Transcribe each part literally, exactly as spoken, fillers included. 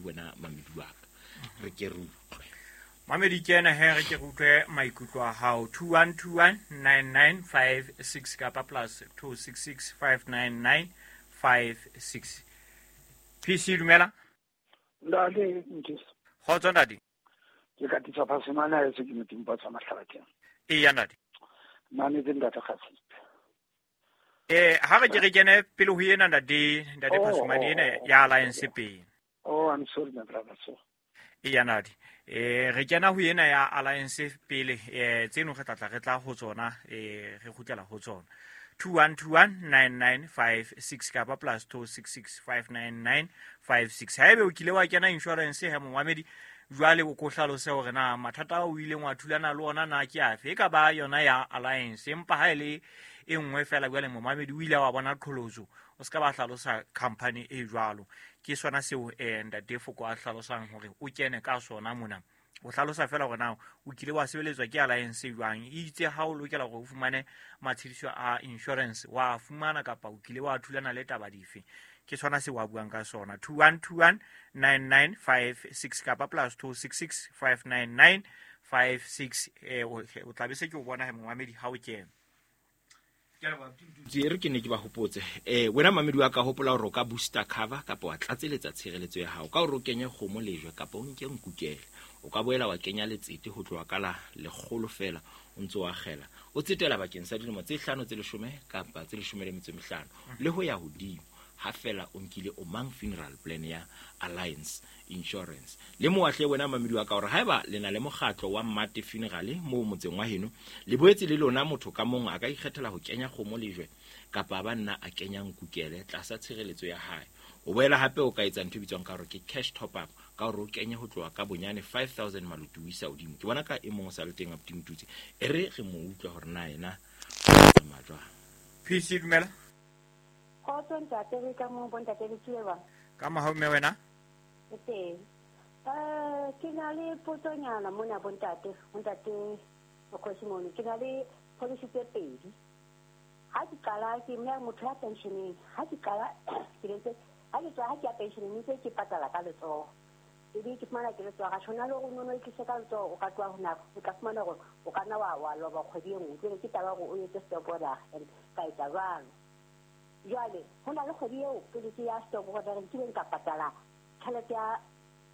Wena mamedi wa ka, re ke re utlwe. Mamedi ke ena he, re ke re utlwe maikutlo a hao. two one two one nine nine five six kapa plus two six six five nine nine five six. P C dumela. Ntate Mtisi. Kgotso ntate. Ke ka tisa phasemana ya se ke motimpa tsa mahlabatheng. Eya ntate. Nna ne ke ntate Kgatsitse. Eh, ha re ke re kene pele ho ena ntate, ntate Oh, Phasemane oh, ena oh, ya oh, Alliance oh. pele. Oh, I'm sorry my brother, so. Eya ntate. Eh, re kena ho ena ya Alliance pele, eh, tseno re tla tla re tla ho tsona, eh, re kgutlela ho tsona. two one two one nine nine five six kapa plus two six six five nine nine five six. Haebe o kile wa kena insurance he momamedi, jwale o ko hlalose hore na mathata ao o ileng wa thulana le ona na ke afe. E ka ba yona ya Alliance, empa ha e le e nngwe fela jwale momamedi o ile wa bona qholotso, o ska ba hlalosa company e jwalo. Ke sona seo, eh, ntate Foko a hlalosang hore o kene ka sona mona. O hlalosa fela hore na o kile wa sebeletswa ke Alliance jwang, e itse ha o lokela hore o fumane matshediso a insurance wa fumana kapa o kile wa thulana le taba dife. Ke sona seo a buang ka sona. two one two one nine nine five six kapa plus two six six five nine nine five six. Eh, o, o tla be se ke o bona he momamedi ha o kena. Ke re ke ne ke ba hopotse. Eh, wena mamedi wa ka, hopola hore o ka booster cover kapa wa tlatseletsa tshireletso ya hao ka hore o kenye kgomo lejwe kapa o nke nkukele. O ka boela wa kenya letsete ho tloha ka la lekgolo fela o ntse o akgela. O tsetela bakeng sa dilemo tse hlano, tse leshome kapa tse leshome le metso e mehlano le ho ya hodimo, ha fela o nkile o mang funeral plan ya Alliance Insurance. Le moahle wena mamedi wa ka hore haeba le na le mokgatlo wa Mmate Funeral moo motseng wa heno, le boetse le lona motho ka mong a ka ikgethela ho kenya kgomo lejwe kapa ba nna a kenya nkukele tlasa tshireletso ya hae. O boela hape o ka etsa ntho e bitswang ka hore ke cash top up, ka hore o kenye ho tloha ka bonyane five thousand maluti o isa hodimo. Ke bona ka e mong o sa le teng abuti Motutsi, e re re mo utlwe hore na yena o tsamaya jwang. P C dumela. Kgotso ntate, re ka mo bontate le tsuwe bang? Ka mohau mme wena? Ke teng. Eh, ke na le potsonyana mona bontate, bontate Mokgosi mono. Ke na le policy tse pedi. Ha ke qala ke mme motho ya pensioneng, ha ke qala ke ntse ha ke tswa ha ke ya pensioneng ntse ke patala ka letsoho. Ebe ke fumana ke letsoho ga tshwana le hore o no no itlise ka letsoho, o ka tloha ho nako, o tla fumana hore o ka nna wa, wa loba kgwedi e nngwe. Jwale ke taba hore o etse stop order and ka etsa jwalo. Jwale ho na le kgwedi eo pele ke ya stop order ke nkileng ka patala tjhelete ya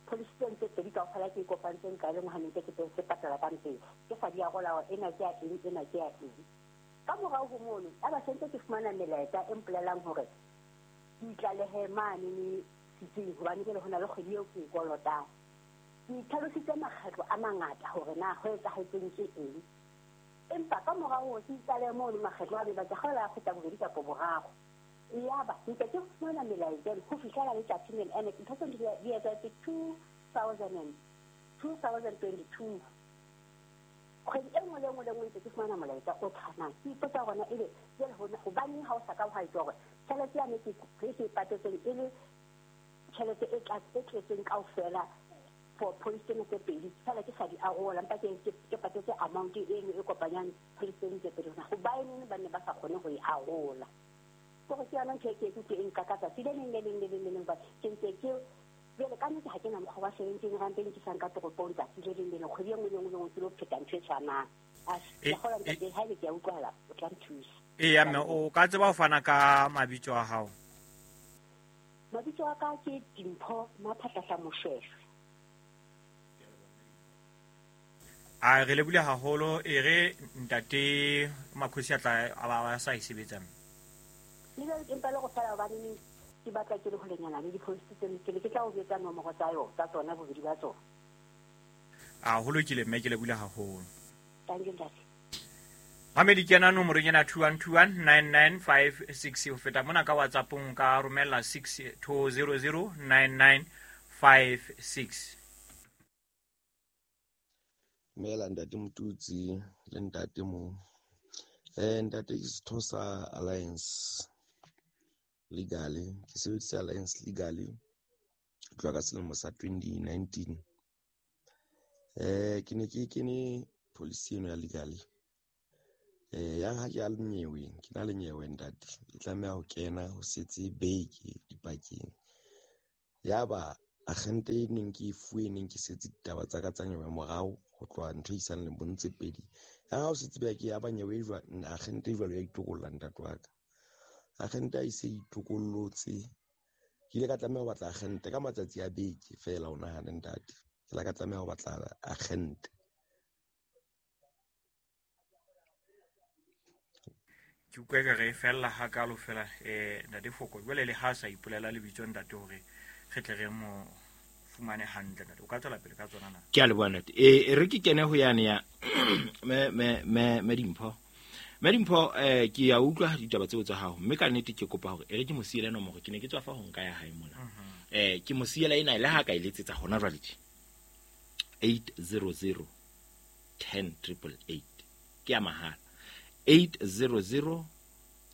policy tse ntse pedi kaofela ke e kopantseng ka e le nngwe ha ne ntse ke ke patala ka mpeng. Ke sa di arola hore ena ke ya eng, ena ke ya eng. Ka morao ho mono, ya ba sentse ke fumana melaetsa e mpolelang hore ke itlalehe mane ne setsing hobane jwale ho na le kgwedi eo ke e kolotang. Ke itlhalositse makgetlo a mangata hore na ho etsahetseng ke eng. Empa ka morao hore ke itlalehe mono makgetlo a be ba ke kgaola a feta bobedi kapa boraro. Yaba ntse ke fumana melaetsa eno ho fihlela letsatsing lena. Ene ntho tseo di di etsahetse two thousand and two thousand twenty-two. Kgwedi e nngwe le nngwe le nngwe ntse ke fumana molaetsa o tshwanang. Ke ipotsa hore na ebe jwale hona hobaneng ha o sa ka wa etsa hore tjhelete yane ke ke e patetseng e le tjhelete e tla-, e tletseng kaofela for policy tsena tse pedi, fela ke sa di arola, empa ke, ke, ke patetse amount eno e kopanyang policy tsena tse pedi. Hore hobaneng ba ne ba sa kgone ho e arola? Hore ke yona ntho e ke e kutlwe e nkaka tsatsi le leng le leng le leng le leng, hobane ke ntse ke jwale ka nnete ha ke na mokgwa wa seventeen rand e nkisang ka toropong tsatsi le leng le leng, kgwedi e nngwe le nngwe le nngwe ke lo pheta ntho e tshwanang. A E, ke kgolwa e. ntate, ha ebe ke a utlwahala, o tla nthusa. Eya mme, o ka tseba ho fana ka mabitso a hao? Mabitso a ka ke Dimpho Maphahlahla Moshweshwe. A re lebile haholo, e re ntate Makhosi a tla a ba a sa e sebetsang. Le jwale ke mpa le go fela hobane neng ke batla ke le holenyana le di-policy tseno, ke ne ke tla o jwetsa nomoro tsa yo, tsa tsona bobedi ba tsona. A ho lokile mme, ke lebile haholo. Thank you, ntate. Mamedi ke ena nomorong ena two one two one nine nine five six. Ho feta mona ka WhatsApp-ong ka romella six two zero zero nine nine five six. Dumela ntate Motutsi le ntate mo. Eh, ntate ke setho sa Alliance Legally, ke sebedisa Alliance Legally ho tloha ka selemo sa twenty nineteen. Eh, ke ne ke kene policy eno ya Legally. Eh, yang ha ke a le nyeweng, ke na le nyewe ntate, e tlameha ho kena ho setse beke dipakeng. Yaba Agente e neng ke e fuwe neng ke setse ditaba tsa ka tsa nyewe morao ho tloha ntho e isang lemong tse pedi. Ya ha o se tsebe ke ya ba nyewe e jwang, agente e jwalo ya itokolla ntate wa ka. Agente ha e se itokollotse, ke ile ka tlameha ho batla agente ka matsatsi a beke feela o nahane ntate. Ke la ka tlameha ho batla agente. Ke utlwa ekare e fella hakalo fela eh ntate Foko. Jwale le ha sa ipolela lebitso ntate hore re tle re mo fumane hantle ntate. O ka tswela pele ka tsona na? Ke a leboha ntate. Eh re ke kene ho yane ya me me me me Dimpho. Me Dimpho eh ke ya utlwa ditaba tseo tsa hao mme ka nnete ke kopa hore e re ke mo siele nomoro, ke ne ke tswa fa ho nka ya hae mona. Eh ke mo siela ena le ha ka e letsetsa hona jwale tje. eight zero zero ten triple eight ke ya mahala. eight zero zero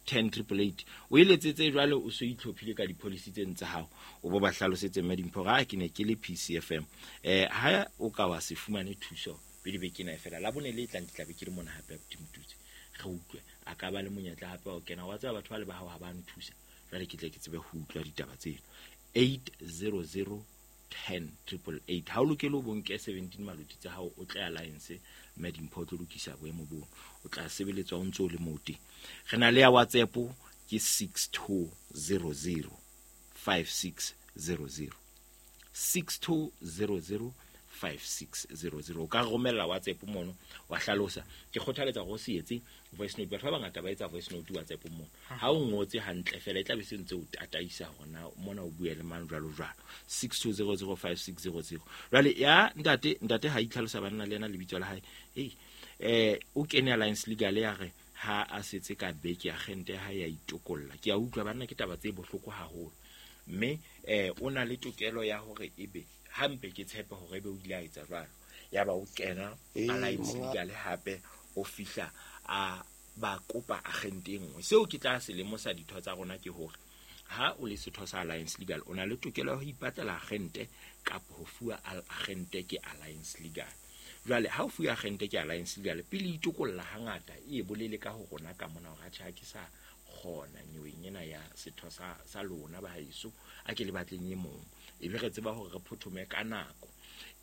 ten triple eight o eletsetse jwale o so itlhophile ka di-policy tse tsa hao o bo ba hlalosetse mme Dimpho ga ke ne ke le P C F M eh ha o ka wa se fumane thuso pele beke ena fela la bone le tlang ke tla be ke le mona hape Motutsi re utlwe a ka ba le monyetla hape o kena wa tseba batho ba le ba hao ha ba nthusa jwale ke tle ke tsebe ho utlwa ditaba tseno. Eight zero zero ten triple eight ha o lokele o bonke seventeen maloti tsa hao o tle Alliance mme Dimpho o tlo lokisa boemo bono o tla sebeletswa o ntse o le moo teng. Re na le ya WhatsApp ke six two zero zero five six zero zero six two zero zero five six zero zero. O ka romella WhatsApp mono wa hlalosa. Ke kgothaletsa hore o se etse voice note. Batho ba bangata ba etsa voice note WhatsApp mono. Ha o ngotse hantle fela e tla be se ntse o tataisa hore na mona o bue le mang jwalo jwalo. six two zero zero five six zero zero. Jwale ya ntate ntate ha itlhalosa banna le yena lebitso la hae. Hey eh o kene Alliance Legal ya re ha a setse ka beke agente ha ya itokolla. Ke a utlwa banna ke taba tse bohloko haholo. Mme eh o na le tokelo ya hore ebe hampe ke tshepe hore ebe o ile a etsa jwalo ya ba o kena Alliance Legal hape o fihla a ba kopa agente e nngwe. Seo ke tla se lemosa ditho tsa rona ke hore ha o le setho sa Alliance Legal o na le tokelo ya ho ipatlela agente kapa ho fuwa agente ke Alliance Legal. Jwale ha o fuwa agente ke Alliance Legal pele itokolla hangata e bolele ka ho rona ka mona hore atjhe ha ke sa kgona nyeweng ena ya setho sa sa lona ba haeso a ke le batleng e mong e be re tseba hore re phothome ka nako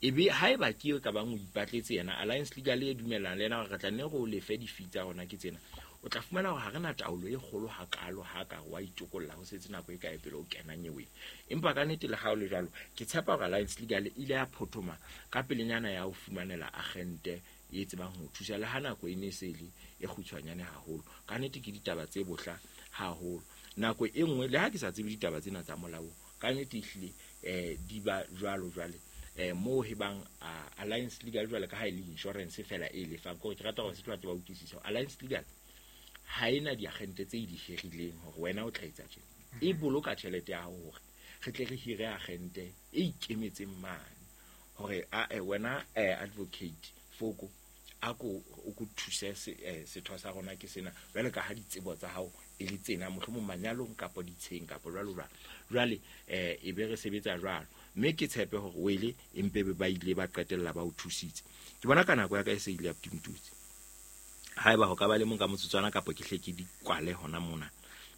e be haeba ke ka bang o ipatletse yena Alliance Legal e dumelana le yena hore re tla nne re o lefe di-fee tsa rona ke tsena o tla fumana hore ha re na taolo e kgolo hakalo ha ka wa itokolla ho setse nako e kae pele o kena nyeweng. Empa ka nnete le ha o le jwalo ke tshepa hore Alliance Legal e ile ya phothoma ka pelenyana ya ho fumanela agente e tsebang ho thusa le ha nako e ne se le e kgutshwanyane haholo. Ka nnete ke ditaba tse bohla haholo. Nako e nngwe le ha ke sa tsebe ditaba tsena tsa molao ka nnete ehlile eh di ba jwalo jwale eh mo he bang Alliance Legal jwale ka ha e le insurance fela e lefang ko ke rata hore se tlo ba utlwisisa Alliance Legal ha ena diagente tse di hirileng hore wena o tla etsa tjena e boloka tjhelete ya hao hore re tle re hire agente e ikemetseng mane hore a wena advocate Foko a ko o ko thuse setho sa rona ke sena jwale ka ha ditsebo tsa hao e le tsena mohlomong manyalong kapa ditsheng kapa jwalo jwalo jwale eh e be re sebetsa jwalo mme ke tshepe hore wele empe ba ile ba qetella ba o thusitse. Ke bona ka nako ya ka e se ile ya Motutsi haeba ho ka ba le mong ka motsotswana kapa ke hle ke di kwale hona mona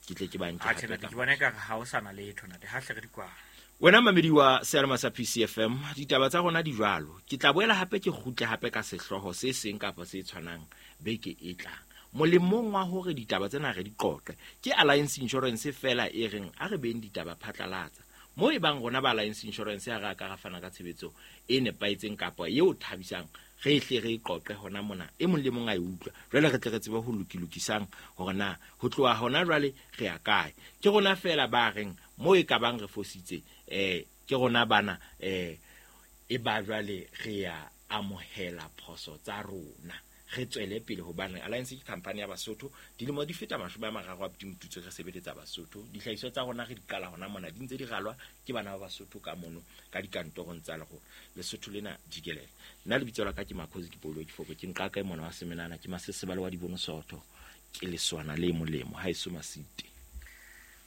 ke tle ke ba nke hape ke bona ka ha o sana letho ntate ha hle re di kwale. Wena mamedi wa Sealema sa P C F M ditaba tsa rona di jwalo ke tla boela hape ke kgutle hape ka sehlooho se seng kapa se tshwanang beke e tlang molemong wa hore ditaba tsena re di qoqe ke Alliance Insurance fela e reng a re beng ditaba phatlalatsa mo e bang rona ba Alliance Insurance ya re ka ra fana ka tshebetso e nepahetseng kapa eo thabisang re hle re qoqe hona mona e mong le mong a e utlwa jwale re tle re tsebe ho lokilokisang hore na ho tloha hona jwale re ya kae. Ke rona fela ba reng mo e ka bang re fositse eh ke rona bana eh e ba jwale re ya amohela phoso tsa rona re tswele pele hobane Alliance ke company ya Basotho dilemo di feta mashome a mararo a Motutsi re sebeletsa Basotho dihlahiswa tsa rona re di qala hona mona di ntse di ralwa ke bana ba Basotho ka mono ka dikantorong tsa lego Lesotho lena jikelele. Nna lebitso la ka ke Makhosi ke Paulo ke Foko ke nqa ka mona wa Semenana ke Masesebale wa Dibono Sotho ke leswana le molemo ha eso masite.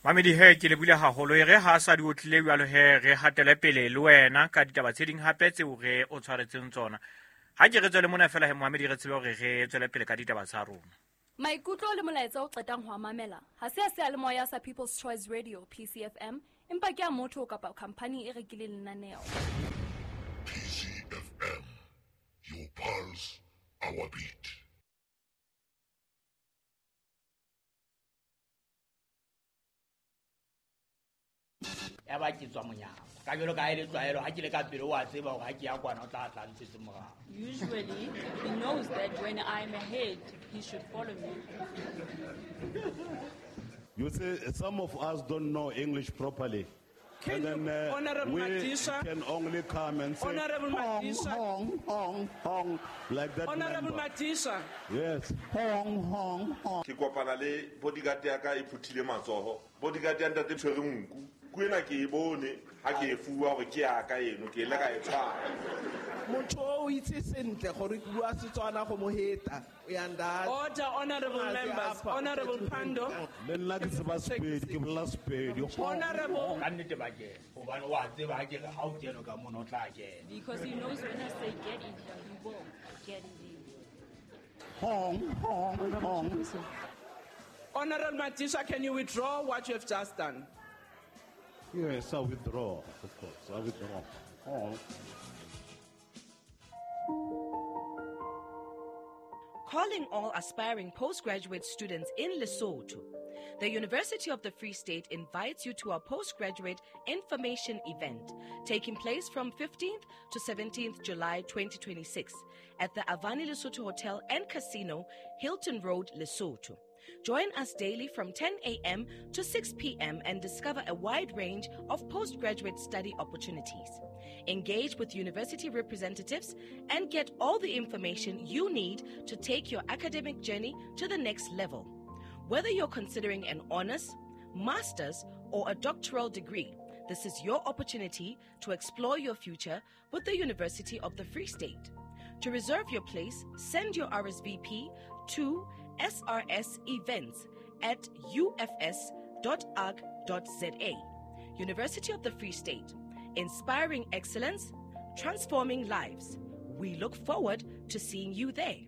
Mamedi he ke le bula haholo e re ha sa di otlile jwalo he re hatele pele le wena ka ditaba tse ding hape tseo re o tshwaretseng tsona. Ha ke re tswele mona fela he Mohamedi re tsebe hore re tswele pele ka ditaba tsa rona. Maikutlo le molaetsa o qetang ho mamela ha se a seyalemoya sa People's Choice Radio P C F M Empa ke a motho kapa khampani e rekileng lenaneo. P C F M, your pulse, our beat. Ya ba ke tswa monyako ka jalo ka ele tlwaelo ha ke le ka pele wa tseba hore ha ke ya kwana o tla tla ntshetse morao. Usually he knows that when I'm ahead he should follow me. You see, some of us don't know English properly. Can and then uh, Honorable we Madisha, can only come and say Honorable hong, Madisha, hong, hong, hong, like that. Honorable member. Madisha. Yes. Hong, hong, hong. Ke kopana le bodyguard ya ka e phuthile matsoho. Bodyguard ya ntate tshwere nku. Kuena ke e bone ha ke e fuwa hore ke ya ka eno ke ile ka e tshwara. Motho o itse sentle gore ke bua Setswana go mo heta. Uyanda. Order, honorable members. Honorable Pando. Le nna ke tseba Sepedi, ke bolela Sepedi. Honorable. Ka nnete ba kena hobane wa tseba ha ke re ha o kene ka mona o tla kena. Because he knows when I say get in here, he will get in there. Hong, hong, hong. Honorable Madisha, can you withdraw what you have just done? Yes, I withdraw, of course. I withdraw. Oh. Calling all aspiring postgraduate students in Lesotho. The University of the Free State invites you to our postgraduate information event taking place from fifteenth to seventeenth July twenty twenty-six at the Avani Lesotho Hotel and Casino, Hilton Road, Lesotho. Join us daily from ten a.m. to six p.m. and discover a wide range of postgraduate study opportunities. Engage with university representatives and get all the information you need to take your academic journey to the next level. Whether you're considering an honors, master's, or a doctoral degree, this is your opportunity to explore your future with the University of the Free State. To reserve your place, send your R S V P to S R S events at U F S dot org dot Z A. University of the Free State, inspiring excellence, transforming lives. We look forward to seeing you there.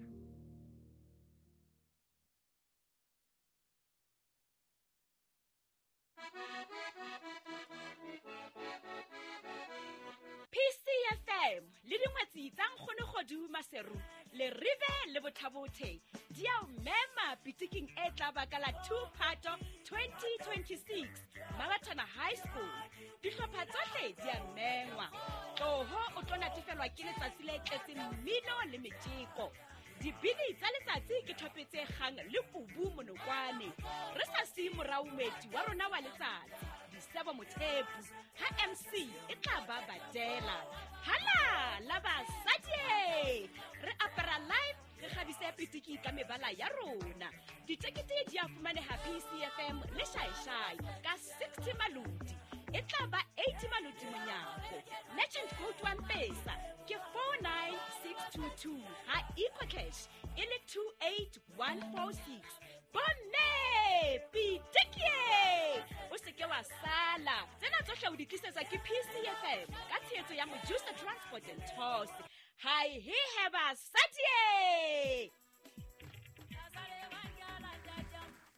P C F M le dingwetsi tsa nkgono kgodu Maseru le rive le Bothabothe di a o mema pitiking e tla ba ka la two Phato twenty twenty-six Mabatana High School. Dihlopha tsohle di a mengwa. Tloho o tlo natefelwa ke letsatsi le tletseng mmino le metjeko. Dibini tsa letsatsi ke thopetse kgang le kubu monokwane. Re sa siye morao moeti wa rona wa letsatsi Disebo Mothepu ha M C e tla ba badela. Hala la basadi re apara live re kgabise pitiki ka mebala ya rona. Ditekete di a fumaneha P C F M le Shaishai ka sixty malodi. E tla ba eighty malodi monyako. Merchant code wa Mpesa ke four nine six two two ha EcoCash e le two eight one four six. Bomme pitiki o se ke wa sala. Tsena tsohle o di tlisetsa ke P C F M ka tshehetso ya Mojusa Transport and Tours. Hi he heba sadie.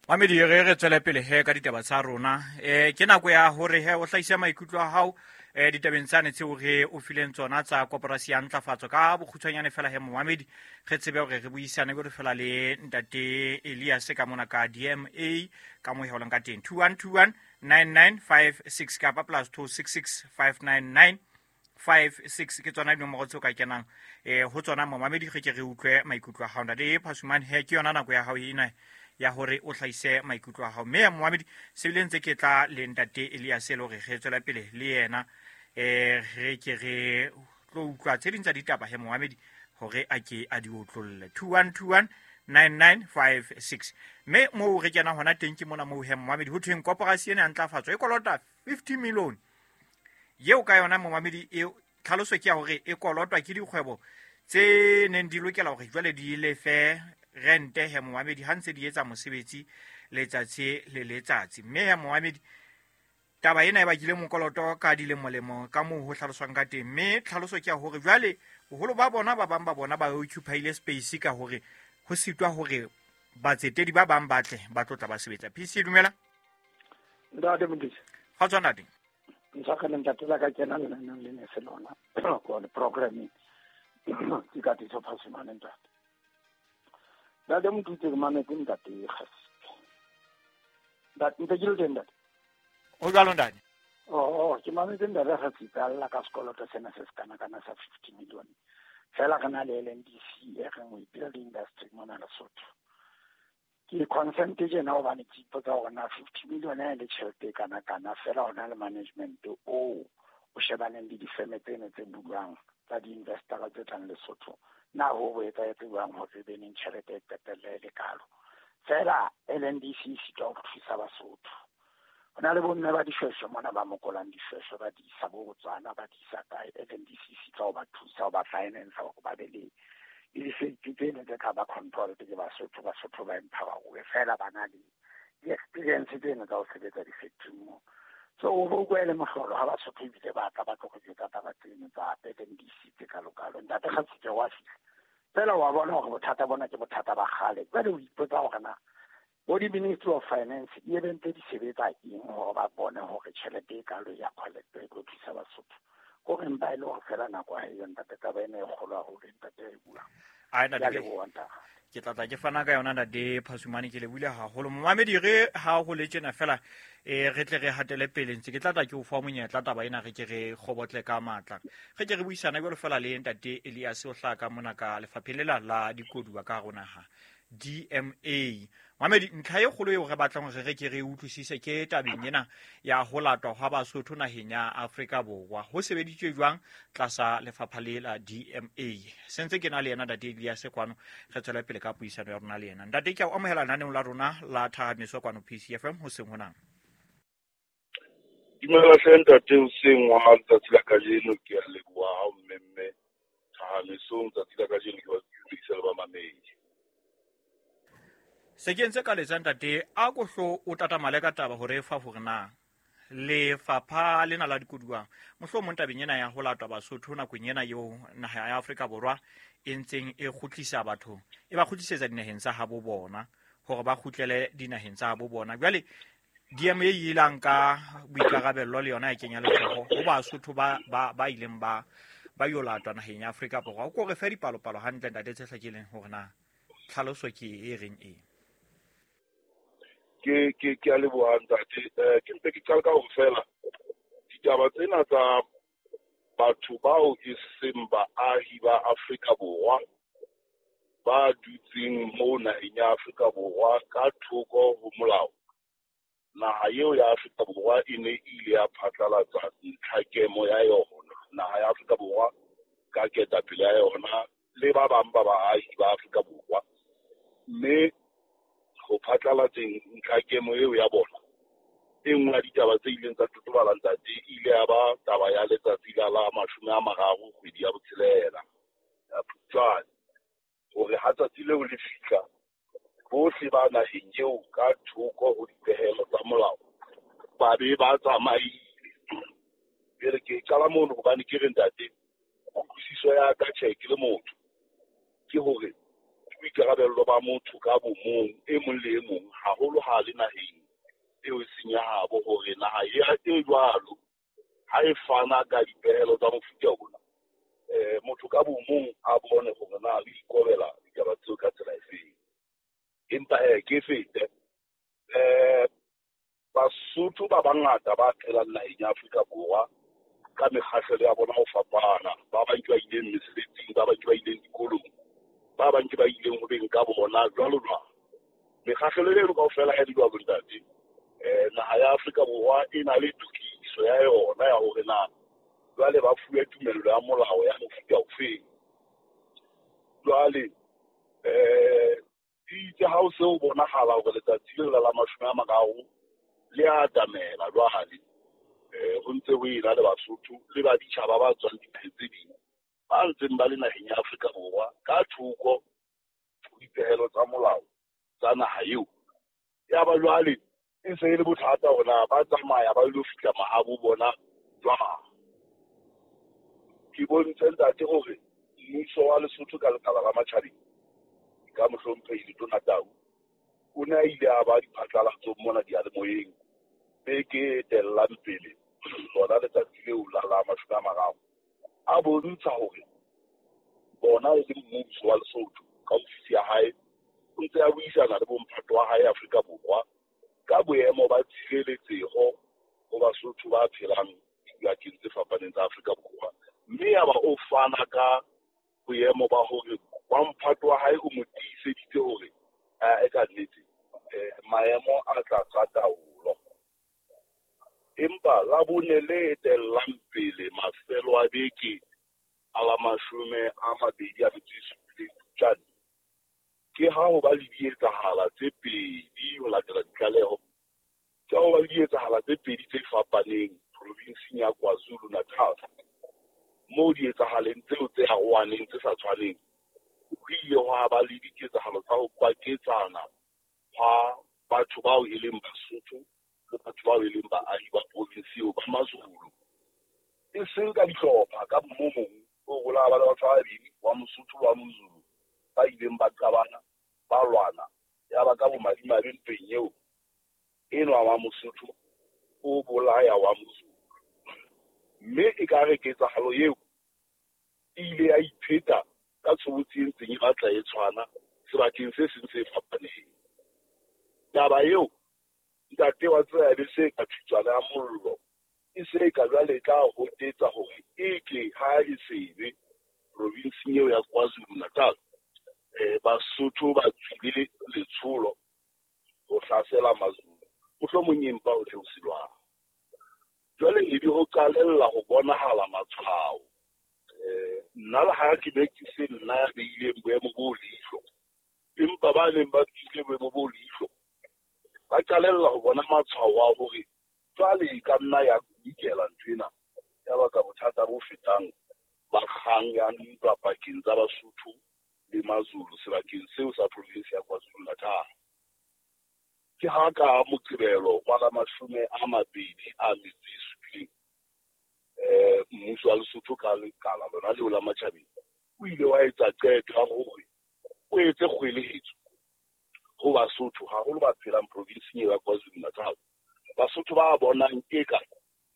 Mamedi re re tswele pele he ka ditaba tsa rona. Eh ke nako ya hore he o hlahisa maikutlo a hao eh ditabeng tsane tseo re o fileng tsona tsa koporasi ya ntlafatso ka bokgutshwanyane fela he momamedi re tsebe hore re buisane go fela le ntate Elias ka mona ka D M A ka mo heolang ka teng two one two one nine nine five six kapa plus two six six five nine nine five six ke tsona dinomoro tseo ka kenang eh ho tsona momamedi re ke re utlwe maikutlo a hao. Ntate Phasumane he ke yona nako ya hao ena ya hore o hlahise maikutlo a hao. Mme momamedi se bile ntse ke tla le ntate Elias le hore re tswela pele le yena eh re ke re tlo utlwa tse ding tsa ditaba he momamedi hore a ke a di otlolle two one two one nine nine five six. Mme moo re kena hona teng ke mona moo he momamedi ho thweng koporasi ena ya ntlafatso e kolota fifty million yeo ka yona momamedi e tlhaloso ke ya hore e kolotwa ke dikgwebo tse neng di lokela hore jwale di lefe rente he momamedi ha ntse di etsa mosebetsi letsatsi le letsatsi. Mme he momamedi taba ena e bakile mokoloto ka dilemolemo ka moo ho hlaloswang ka teng. Mme tlhaloso ke ya hore jwale boholo ba bona ba bang ba bona ba occupy-ile space ka hore ho sitwa hore batsetedi ba bang ba tle ba tlo tla ba sebetsa. P C dumela. Ntate Mokete. Kgotso ntate. Ntshwarele ntate la ka kena lenaneong le ne se lona ko le programming. Ke ka Tiiso Phasumane ntate. Ntate Motutsi ke mametse ntate Kgasipe. Ntate ntse ke le teng ntate. O jwalo ntate. Oh, oh, ke mametse ntate Kgasipe a lla ka sekoloto sena se se kana kana sa fifty million. Fela re na le L N D C e reng we build industry mona Lesotho. Ke consent tjena hobane ke ipotsa hore na fifty million e le tjhelete e kana kana fela hona le management o o shebaneng le difeme tseno tse bulwang tsa di-investor tse tlang Lesotho. Na ho bo etsahetse jwang hore e be neng tjhelete e qetelle e le kalo. Fela L N D C e sitwa ho thusa Basotho. Ho na le bomme ba dishweshwe mona ba mokolang dishweshwe ba di isa bo Botswana ba di isa kae. L N D C e sitwa ho ba thusa ho ba finance hore ba be le le di-factory tseno tse tla ba controlled ke Basotho. Basotho ba empower-uwe fela ba na le di-experience tseno tsa ho sebetsa di-factory moo. So o bo utlwa e le mohlolo ha Basotho ebile ba tla ba tlo go jwetsa taba tseno tsa L N D C tse kalokalo. Ntate Kgasipe wa fihla fela wa bona hore bothata bona ke bothata ba kgale. Jwale o ipotsa hore na bo di-Ministry of Finance e be ntse di sebetsa eng hore ba bone hore tjhelete e kalo ya collect e tlo thusa Basotho. Ko re mpa e le hore fela nako ha eyo ntate, taba ena e kgolo haholo ntate e buang. Ai ntate, Ke a leboha ntate. Ke tla tla ke fana ka yona ntate Phasumane, ke lebohile haholo. Momamedi re ha ho le tjena fela e re tle re hatele pele ntse ke tla tla ke o fa monyetla taba ena re ke re kgobotle ka matla. Re ke re buisana jwalo fela le ntate Elias o hlaka mona ka lefapheng lela la dikoduwa ka hare ho naha D M A. Mamedi, ntlha e kgolo eo re batlang hore re ke re utlwisise ke tabeng ena ya ho latwa hwa Basotho naheng ya Afrika Borwa. Ho sebeditswe jwang tlasa lefapha le la D M A. Sentse ke na le yena ntate Elias kwano, re tswela pele ka puisano ya rona le yena. Ntate, ke a o amohela lenaneong la rona la Thahamiso kwano P C F M hoseng hona. Dumela hle ntate, hoseng wa letsatsi la kajeno ke a leboha ha o mmemme Thahamisong tsatsi la kajeno ke ba dumedisa le bamamedi. Se ke ntse ka letsa ntate, a ko hlo o tatamale ka taba hore fa hore na lefapha lena la dikoduwa mohlomong tabeng ena ya ho latwa Basotho nakong ena eo naha ya Afrika Borwa e ntseng e kgutlisa batho e ba kgutlisetsa dinaheng tsa habo bona hore ba kgutlele dinaheng tsa habo bona. Jwale D M A e ile nka boikarabello le yona e kenya letsoho ho Basotho ba ba ba ileng ba ba yo latwa naheng ya Afrika Borwa. O ko re fe dipalopalo hantle ntate tse hlakileng hore na tlhaloso ke e reng eng. Ke ke ke a leboha ntate. Eh, ke mpe ke qale ka hore fela ditaba tsena tsa batho bao e seng baahi ba Afrika Borwa ba dutseng mo naheng ya Afrika Borwa ka thoko ho molao. Naha eo ya Afrika Borwa e ne e ile ya phatlalatsa ntlhakemo ya yona. Naha ya Afrika Borwa ka ketapele ya yona le ba bang ba baahi ba Afrika Borwa, mme ho phatlalatseng ntlhakemo eo ya bona. E nngwe ya ditaba tse ileng tsa totobala ntate e ile ya ba taba ya letsatsi la la mashome a mararo kgwedi ya botshelela ya Phupjane, hore ha tsatsi leo le fihla bohle ba naheng eo ka thoko ho dipehelo tsa molao ba be ba tsamaile. Jwale ke qala mono hobane ke re ntate, kutlwisiso ya ka tjhe ke le motho ke hore boikarabello ba motho ka bo mong e mong le e mong haholo ha le naheng eo e seng ya habo, hore naha e jwalo ha e fana ka dipehelo tsa mofuta ona eh motho ka bo mong a bone hore na le ikobela ditaba tseo ka tsela efeng. Empa he ke fete eh Basotho ba bangata ba phelang naheng ya Afrika Borwa ka mekgahlelo ya bona ho fapana, ba bang ke ba ileng mesebetsing, ba bang ke ba ileng dikolong, ba bang ke ba ileng ho beng ka bona jwalo jwalo. Mekgahlelo eno kaofela ya dijwalo ntate, eh naha ya Afrika Borwa e na le tokiso ya yona ya hore na jwale ba fuwe tumello ya molao ya mofuta ofeng. Jwale eh itse ha o se o bonahala hore letsatsi leo la mashome a mararo le a atamela jwale eh ho ntse ho ena le Basotho le ba ditjhaba ba tswang dinaheng tse ding ba ntseng ba le naheng ya Afrika Borwa ka thoko ho dipehelo tsa molao tsa naha eo. Ya ba jwale e se e le bothata hore na ba tsamaya ba ilo fihla mahabo bona jwang. Ke bontshe ntate hore mmuso wa Lesotho ka lekala la matjhabeng ka mohlomphehi Letona Tau o ne a ile a ba diphatlalatsong mona diyalemoyeng beke e etellang pele lona letsatsi leo la la mashome a mararo a bontsha hore bona e le mmuso wa Lesotho ka ofisi ya hae o ntse a buisana le bomphato wa hae Afrika Borwa ka boemo ba tshireletseho ho Basotho ba phelang dibakeng tse fapaneng tsa Afrika Borwa, mme ya ba o fana ka boemo ba hore wa mphato wa hae o mo tiiseditse hore e ka nnete maemo a tlasa taolo. Empa la bone le etellang pele mafelo a beke a la mashome a mabedi a metso e supileng Phupjane ke ha ho ba le dietsahala tse pedi ho latela ditlaleho ke ha ho ba le dietsahala tse pedi tse fapaneng provinseng ya KwaZulu-Natal, moo dietsahaleng tseo tse arohaneng tse sa tshwaneng ho ile hwa ba le diketsahalo tsa ho kwaketsana hwa batho bao e leng Basotho le batho bao e leng baahi ba provinsi eo ba Mazulu, e seng ka dihlopha ka mo mong o gola ba le batho ba babedi wa Mosotho wa Mozulu ba ileng ba qabana ba lwana ya ba ka bomadimabe ntweng eo enwa wa Mosotho o bolaya wa Mozulu, mme e ka re ketsahalo eo e ile ya ipheta ka tshobotsi e ntseng e batla e tshwana sebakeng se seng se fapaneng. Taba eo ntate wa tseba e be se ka thutswana ya mollo e se ka jwale e tla hotetsa hore e ke ha e sebe provinseng eo ya KwaZulu-Natal eh Basotho ba tswile letsholo ho hlasela Mazulu, mohlomong empa o theosilwang. Jwale e be ho qalella ho bonahala matshwao. Eh nna le ha ke be ke se nna ya beileng boemo bo leihlo, empa ba neng ba tswile boemo bo leihlo ba qalella ho bona matshwao a hore jwale e ka nna ya ikela ntho ena ya baka bothata bo fetang ba kgang ya ntwa pakeng tsa Basotho le Mazulu sebakeng seo sa province ya KwaZulu-Natal. Ke ha ka Moqebelo wa la mashome a mabedi a metso e supileng eh mmuso wa Lesotho ka lekala lona leo la matjhabeng o ile wa etsa qeto ya hore o etse kgweletso ho Basotho haholo ba phelang provinseng ya KwaZulu-Natal. Basotho ba bonang eka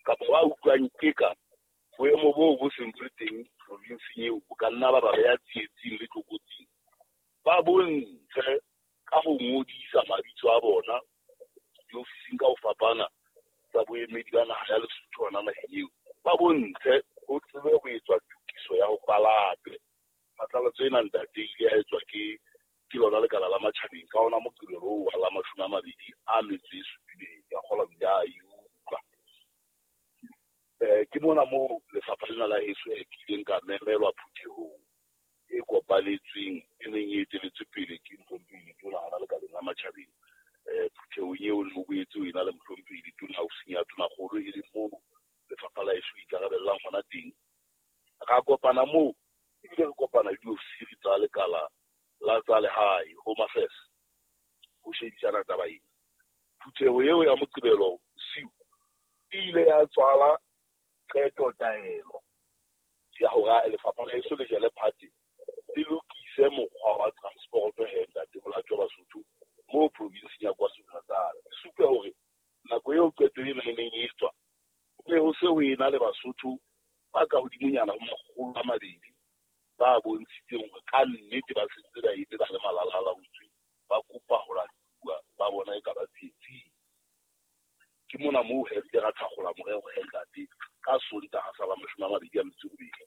kapa ba utlwang eka boemo boo bo seng bo le teng provinseng eo bo ka nna ba ba beha tsietsing le tlokotsing, ba bontshe ka ho ngodisa mabitso a bona diofising ka ho fapana tsa boemedi ba naha ya Lesotho hona naheng eo, ba bontshe ho tsebe ho etswa tokiso ya ho palatwe. Phatlalatso ena ntate e ile ya etswa ke ke lona lekala la matjhabeng ka ona Moqebelo oo wa la mashome a mabedi a metso e supileng ya kgola o ile a e utlwa. Eh ke mona moo lefapha lena la heso e kileng ka memelwa phuthehong e kopanetsweng e neng e eteletswe pele ke mohlomphehi Letona hona lekaleng la matjhabeng. Eh phuthehong eo ne ho boetse ho ena le mohlomphehi Letona ofising ya Tonakgolo e leng moo lefapha la heso ikarabellang hona teng. Ra kopana moo ebile re kopana le diofisiri tsa lekala la tsa lehae Home Affairs ho shebisana taba ena. Phutheho eo ya Moqebelo bosiu e ile ya tswala qeto taelo ya hore lefapha la heso le jele phate le lokise mokgwa wa transport he ntate Molato wa Basotho moo provinseng ya KwaZulu-Natal. E supe hore nako eo qeto ena e neng e etswa ho ne ho se ho ena le Basotho ba ka hodimonyana ho makgolo a mabedi ba bontshitseng hore ka nnete ba sentse ba eme ba le malala-a-laotswe ba kopa ho latuwa ba bona e ka ba tsietsing. Ke mona moo he re ile ra thakgola morero he ntate ka Sontaha sa la mashome a mabedi a metso e robedi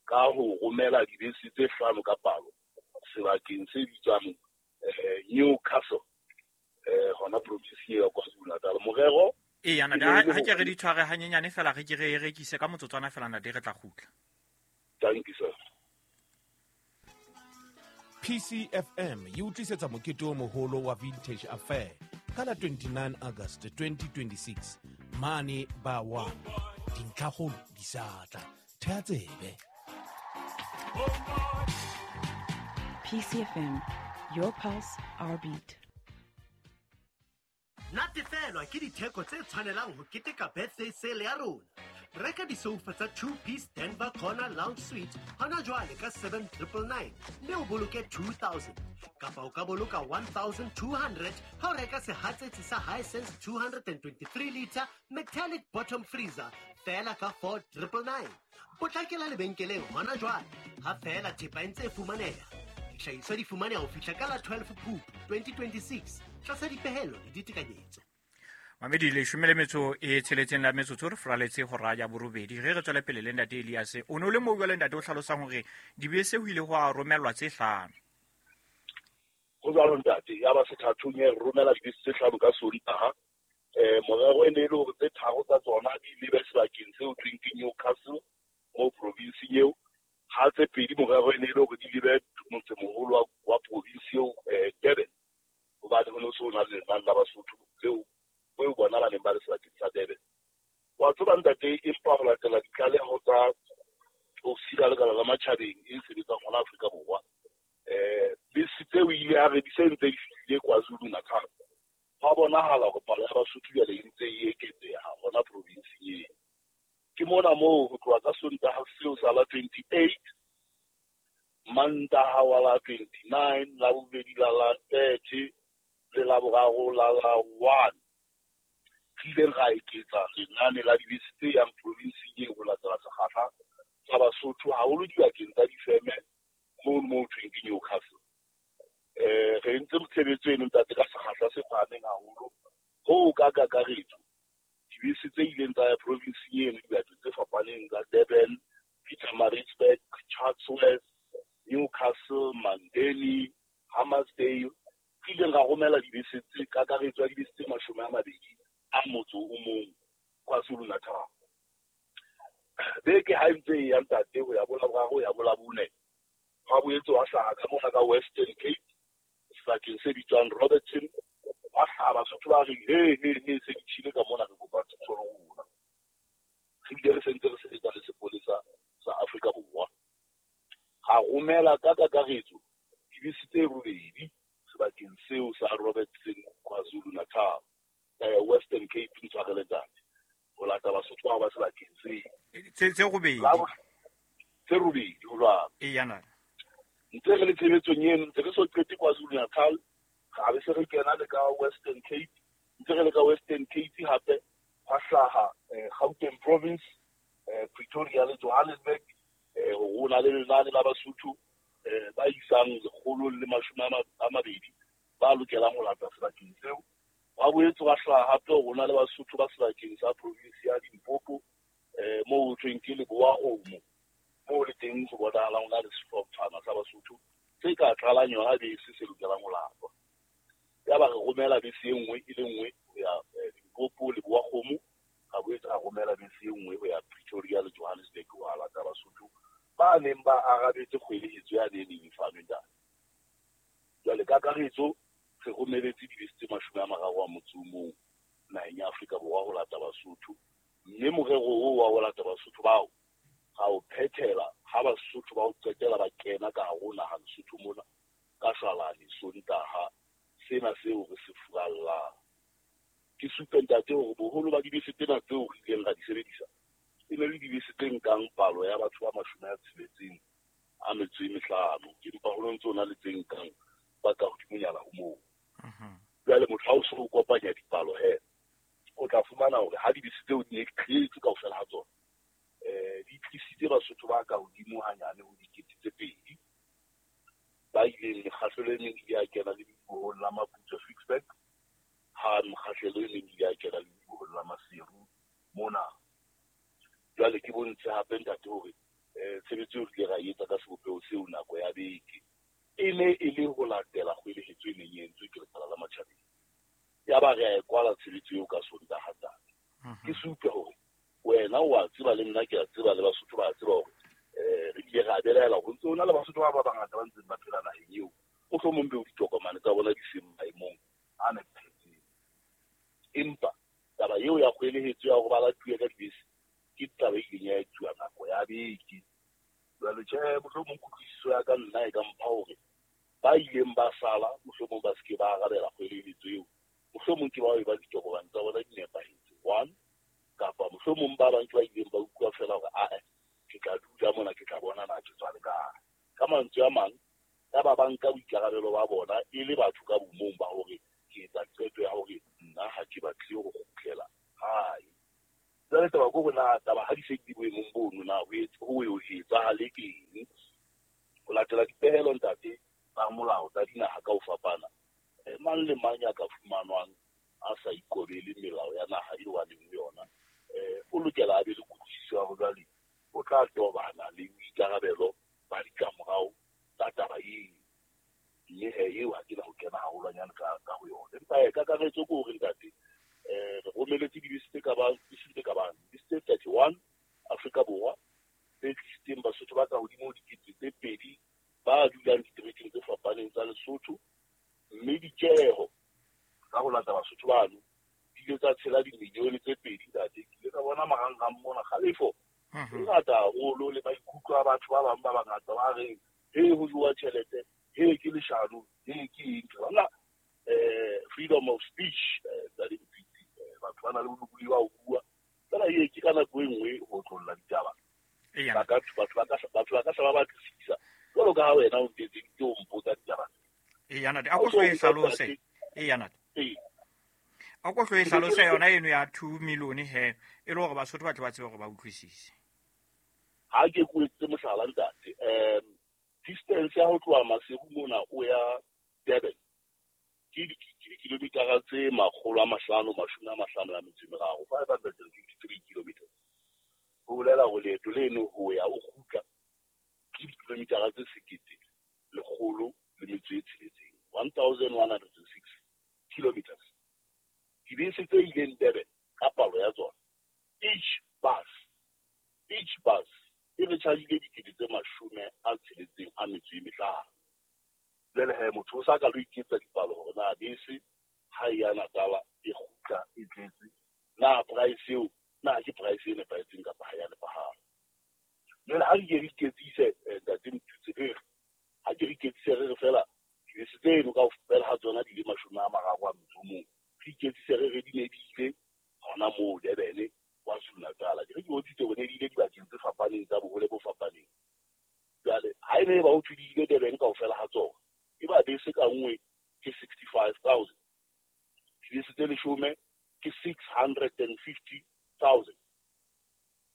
ka ho romela dibese tse hlano ka palo sebakeng se bitswang eh Newcastle eh hona provinseng ya KwaZulu-Natal. Morero e yana ha ke re di tshware hanyenyane fela re ke re e rekise ka motsotswana fela ntate re tla kgutla. Thank you sir. P C F M e utlisetsa mokete o moholo wa Vintage Affair ka la twenty-nine August twenty twenty-six mane ba one. Dintlhakgolo di sa tla. Thea tsebe. P C F M, your pulse, our beat. Natefelwa ke ditheko tse tshwanelang ho keteka birthday sale ya rona. Reka disoufa tsa two-piece Denver Corner Lounge Suite hona jwale ka seven triple nine mme o boloke two thousand. Kapa o ka boloka one thousand two hundred ha o reka sehatsetsi sa Hisense two hundred twenty-three liter metallic bottom freezer feela ka four triple nine. Potlakela lebenkeleng hona jwale ha feela thepa e ntse e fumaneha. Dihlahiswa di fumaneha ho fihla ka la twelve Phupu twenty twenty-six tlasa dipehelo le ditekanyetso. Mamedi leshome le metso e tsheletseng la metsotso re furaletse hora ya borobedi. Re re tswele pele le ntate Elias. O no le moo jwale ntate o hlalosang hore dibese ho ile hwa romellwa tse hlano. Ho jwalo ntate, ya ba sethathong e romela dibese tse hlano ka Sontaha. Eh morero e ne e le hore tse tharo tsa tsona di lebe sebakeng seo thweng ke Newcastle mo provinseng eo. Ha tse pedi morero e ne e le hore di lebe motsemoholo wa province eo eh Durban. Hobane ho no so na le lenane la Basotho leo o bona ba neng ba le sebakeng sa Durban. Wa tseba ntate, empa ho latela ditlaleho tsa ofisi ya lekala la matjhabeng e sebetsang hona Afrika Borwa, eh bese tseo ile a re di se ntse di fihlile KwaZulu Natal. Hwa bonahala hore palo ya Basotho jwale e ntse e eketseha hona provinseng eo. Ke mona moo ho tloha ka Sontaha seo sa la twenty-eight, Mantaha wa la twenty-nine, Labobedi la la thirty, le Laboraro la la one. Re ileng ra eketsa lenane la dibese tse yang provinseng eo ho latela sekgahla sa Basotho haholo dibakeng tsa difeme mono moo thweng ke Newcastle. Eh re entse tshebetso eno ntate ka sekgahla se phahameng haholo hoo ka kakaretso dibese tse ileng tsa ya provinseng eno dibakeng tse fapaneng tsa Durban, Pietermaritzburg, Chatsworth, Newcastle, Mandeni, Hammarsdale, re ileng ra romela dibese tse kakaretso ya dibese tse mashome a mabedi a motso o mong KwaZulu Natal. Beke ha ntse e ya ntate ho ya bo Laboraro ho ya bo Labone, hwa boetse hwa hlaha ka mona ka Western Cape sebakeng se bitswang Robertson, hwa hlaha Basotho ba reng he he he se di tjhile ka mona re kopa thuso le rona. Re bile re sentse re sebetsa le sepolesa sa Afrika Borwa. Ra romela ka kakaretso dibese tse robedi sebakeng seo sa Robertson KwaZulu Natal, eh Western Cape ntshwarele ntate, ho lata Basotho bao ba sebakeng seo. Tse tse robedi. Tse robedi ho jwalo. Eya ntate. Ntse re le tshebetsong eno, ntse re so qete KwaZulu Natal, ra be se re kena le ka Western Cape. Ntse re le ka Western Cape hape hwa hlaha Gauteng Province, eh Pretoria le Johannesburg, eh ho na le lenane la Basotho eh ba isang lekgolo le mashome a mabedi ba lokelang ho lata sebakeng seo. Hwa boetse hwa hlaha hape ho na le Basotho ba sebakeng sa province ya Limpopo, eh moo ho thweng ke Lebowa-Kgomo, moo le teng ho bonahalang ho na le sehlotshwana sa Basotho se ka tlalang yona bese se lokelang ho latwa. Yaba re romela bese e nngwe e le nngwe ho ya Limpopo, Lebowa-Kgomo, ra boetse ra romela bese e nngwe ho ya Pretoria le Johannesburg ho lata Basotho ba neng ba arabetse kgwelehetso yane e neng e fanwe ntate. Jwale kakaretso re romeletse dibese tse mashome a mararo a motso o mong naheng ya Afrika Borwa ho lata Basotho, mme morero oo wa ho lata Basotho bao ra o phethela ha Basotho ba o qetela ba kena ka hare ho naha Lesotho mona ka shwalane Sontaha sena seo re se furallang. Ke supe ntate hore boholo ba dibese tsena tseo re ileng ra di sebedisa e ne le dibese tse nkang palo ya batho ba mashome a tsheletseng a metso e mehlano, empa ho ntse ho na le tse nkang ba ka hodimonyana ho moo. Jwale motho ha o so o kopanya dipalo he, o tla fumana hore ha dibese tseo di ne di tletse kaofela ha tsona, eh di tlisitse Basotho ba ka hodimo hanyane ho dikete tse pedi ba ileng mekgahlelo e meng ile ya kena le ledibohong la Maputswe Ficksburg, ha mekgahlelo e meng ile ya kena le ledibohong la Maseru mona. Jwale ke bontshe hape ntate hore eh tshebetso eo re ile ra e etsa ka sebopeho seo nako ya beke e ne e le ho latela kgwelehetso e neng e entswe ke lekala la matjhabeng. Yaba re a e kwala tshebetso eo ka Sontaha ntate. Ke supe hore wena o a tseba le nna ke a tseba le Basotho ba a tseba hore eh re ile ra belaela hore ntse ho na le Basotho ba ba bangata ba ntseng ba phela naheng eo, mohlomong beo ditokomane tsa bona di seng maemong a nepahetseng. Empa taba eo ya kgwelehetso ya hore ba latuwe ka dibese ke taba e ileng ya etsuwa nako ya beke. Jwale tjhe, mohlomong kutlwisiso ya ka nna e ka mpha hore ba ileng ba sala mohlomong ba seke ba arabela kgwelehetso eo, mohlomong ke bao e ba ditokomane tsa bona di nepahetse one, kapa mohlomong ba bang ke ba ileng ba utlwa feela hore ae ke tla dula mona ke tla bona na ke tswa le kae. Ka mantswe a mang, ya ba ba nka boikarabelo ba bona e le batho ka bomong ba hore ke etsa qeto ya hore nna ha ke batle ho kgutlela hae. Jwale taba ke hore na taba ha di se di boemong bono na ho ho eo etsahale eng. Ho latela dipehelo ntate tsa molao tsa dinaha ka ho fapana, mang le mang ya ka fumanwang a sa ikobele melao ya naha eo a leng ho yona, eh o lokela a be le kutlwisiso ya hore jwale o tla tobana le boikarabelo ba ditlamorao tsa taba eo. Mme he eo ha ke na ho kena haholwanyane ka ka ho yona. Empa he kakaretso ke hore ntate, eh re romeletse dibese tse ka bang dibese tse ka bang dibese tse thirty-one Afrika Borwa tse tlisitseng Basotho ba ka hodimo ho dikete tse pedi ba dulang diterekeng tse fapaneng tsa Lesotho, mme ditjeho ka ho lata Basotho bano di ile tsa tshela dimilione tse pedi ntate. Ke ile ka bona marangrang mona kgalefo e ngata haholo le maikutlo a batho ba bang ba bangata ba reng he ho jowa tjhelete, he ke leshano, he ke eng. Ke bona eh freedom of speech tsa dipitsi, batho ba na le bolokolohi ba ho bua fela e ke ka nako e nngwe ho tlolla ditaba. Ba ka batho ba ka batho ba ka sa ba batlisisa jwalo ka ha wena o ntetse ke o mpotsa ditaba. Eya ntate, a ko hlo e hlalose. Eya ntate. A ko hlo e hlalose yona eno ya two million he, e le hore Basotho ba tle ba tsebe hore ba utlwisise. Ha ke ko etse mohlala ntate, um distance ya ho tloha Maseru mona o ya Durban ke dikilomitara tse makgolo a mahlano mashome a mahlano a metso e meraro, five hundred and fifty-three kilometers. Ho bolela hore leeto leno ho ya o kgutla ke dikilomitara tse sekete lekgolo le metso e tsheletseng, one thousand one hundred and six kilometers. Dibese tse ileng Durban ka palo ya tsona, each bus each bus e re chargile dikete tse mashome a tsheletseng a metso e mehlano. Jwale he motho o sa ka lo iketsa dipalo hore na bese ha e ya Natala e kgutla e tletse, na price eo na ke price e nepahetseng kapa ha ya nepahala. Jwale ha re ke re iketsise ntate Mthutse, re re ha ke re iketsise re re fela dibese tseno kaofela ha tsona di le mashome a mararo a metso o mong, re iketsise re re di ne di ile hona moo Durban KwaZulu Natal. Ke re ke bontshitse hore ne di ile dibakeng tse fapaneng tsa bohole bo fapaneng. Jwale ha e ne ba ho thwe di ile Durban kaofela ha tsona, e ba bese ka nngwe ke sixty-five thousand, dibese tse leshome ke six hundred and fifty thousand,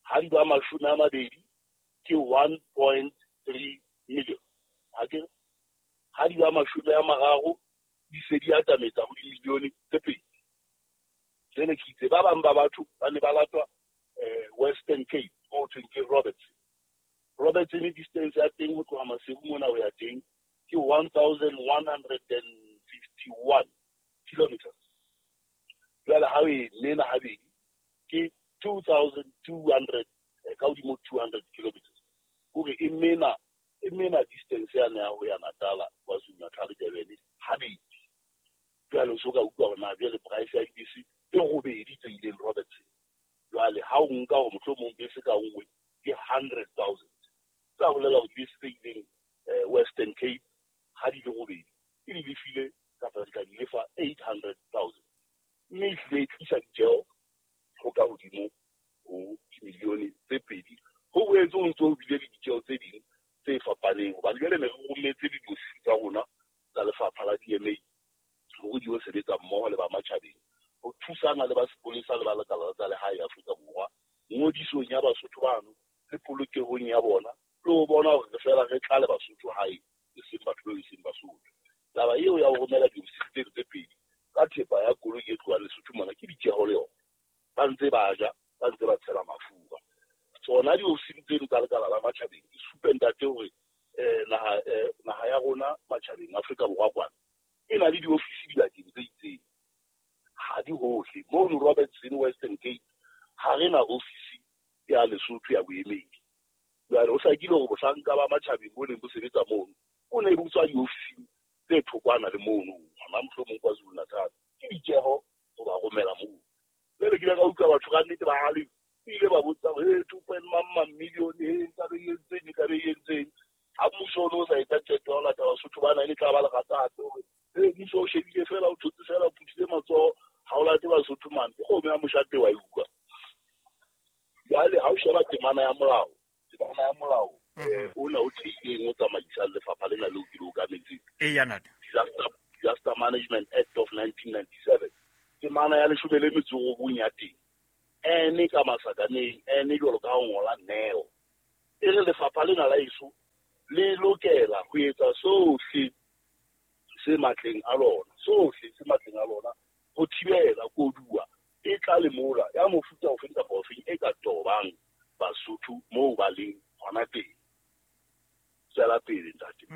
ha di ba mashome a mabedi ke one point three million. Ha ke ha di ba mashome a mararo di se di atametsa ho dimilione tse pedi. Jwale ke itse ba bang ba batho ba ne ba latwa eh Western Cape ho thweng ke Robertson. Robertson distance ya teng ho tloha Maseru mona ho ya teng ke one thousand one hundred and fifty-one kilometers. Jwale ha o e mena habedi ke two thousand two hundred ka hodimo two hundred kilometers. Hore e mena e mena distance ya ya ho ya Natala KwaZulu Natal Durban habedi. Jwale o so ka utlwa hore na jwale price ya dibese e robedi tse ileng Robertson. Jwale ha o nka hore mohlomong bese ka nngwe ke hundred thousand, tsa bolela hore dibese tse ileng Western Cape ha di le robedi e di lefile kapa di ka di lefa eight hundred thousand, mme e hlile e tlisa ditjeho ho ka hodimo ho dimilione tse pedi. Ho boetse ho ntso ho bile le ditjeho tse ding tse fapaneng hobane jwale ne re rometse le diofisi tsa rona tsa lefapha la D M A hore di yo sebetsa mmoho le ba matjhabeng ho thusana le ba sepolesa le ba lekala tsa lehae Afrika Borwa ngodisong ya Basotho bano le polokehong ya bona, le ho bona hore re fela re tlale Basotho hae e seng batho bao e seng Basotho. Taba eo ya ho romela diofisi tseno tse pedi ka thepa ya koloi e tlohang Lesotho mona ke ditjeho le yona. Ba ntse ba ja, ba ntse ba tshela mafura. Tsona diofisi tseno tsa lekala la matjhabeng di supe ntate hore eh naha eh naha ya rona matjhabeng Afrika Borwa kwana e na le diofisi dibakeng tse itseng, ha di hohle. Mono Robertson Western Cape ha re na ofisi ya Lesotho ya boemedi. Jwale ho hlakile hore bohlanka ba matjhabeng bo neng bo sebetsa mono o ne bo tswa diofising tse thokwana le mono hona mohlomong KwaZulu Natal. Ke ditjeho ho ba romela moo. Jwale ke ile ka utlwa batho ka nnete ba hale ile ba botsa hore hey, two point mang million e nka be entseng e ka be entseng. Ha mmuso o no sa etsa qeto ya ho lata Basotho bana e tla ba lerata hape hore hey, mmuso o shebile fela o thotse fela o phuthile matsoho ha o late Basotho mane ke kgomo ya moshate wa e utlwa. Jwale ha o sheba temana ya molao, temana ya molao ona o theileng o tsamaisang lefapha lena leo ke le okametseng. Eya ntate. Disaster Disaster Management Act of nineteen ninety-seven. Temana ya leshome le metso e robong ya teng N ka masakaneng, N jwalo ka ho ngola neo. E re lefapha lena la eso le lokela ho etsa sohle se matleng a lona, sohle se matleng a lona ho thibela koduwa e tla le mola ya mofuta ofeng kapa ofeng e ka tobang Basotho moo ba leng hona teng. Tswela pele ntate.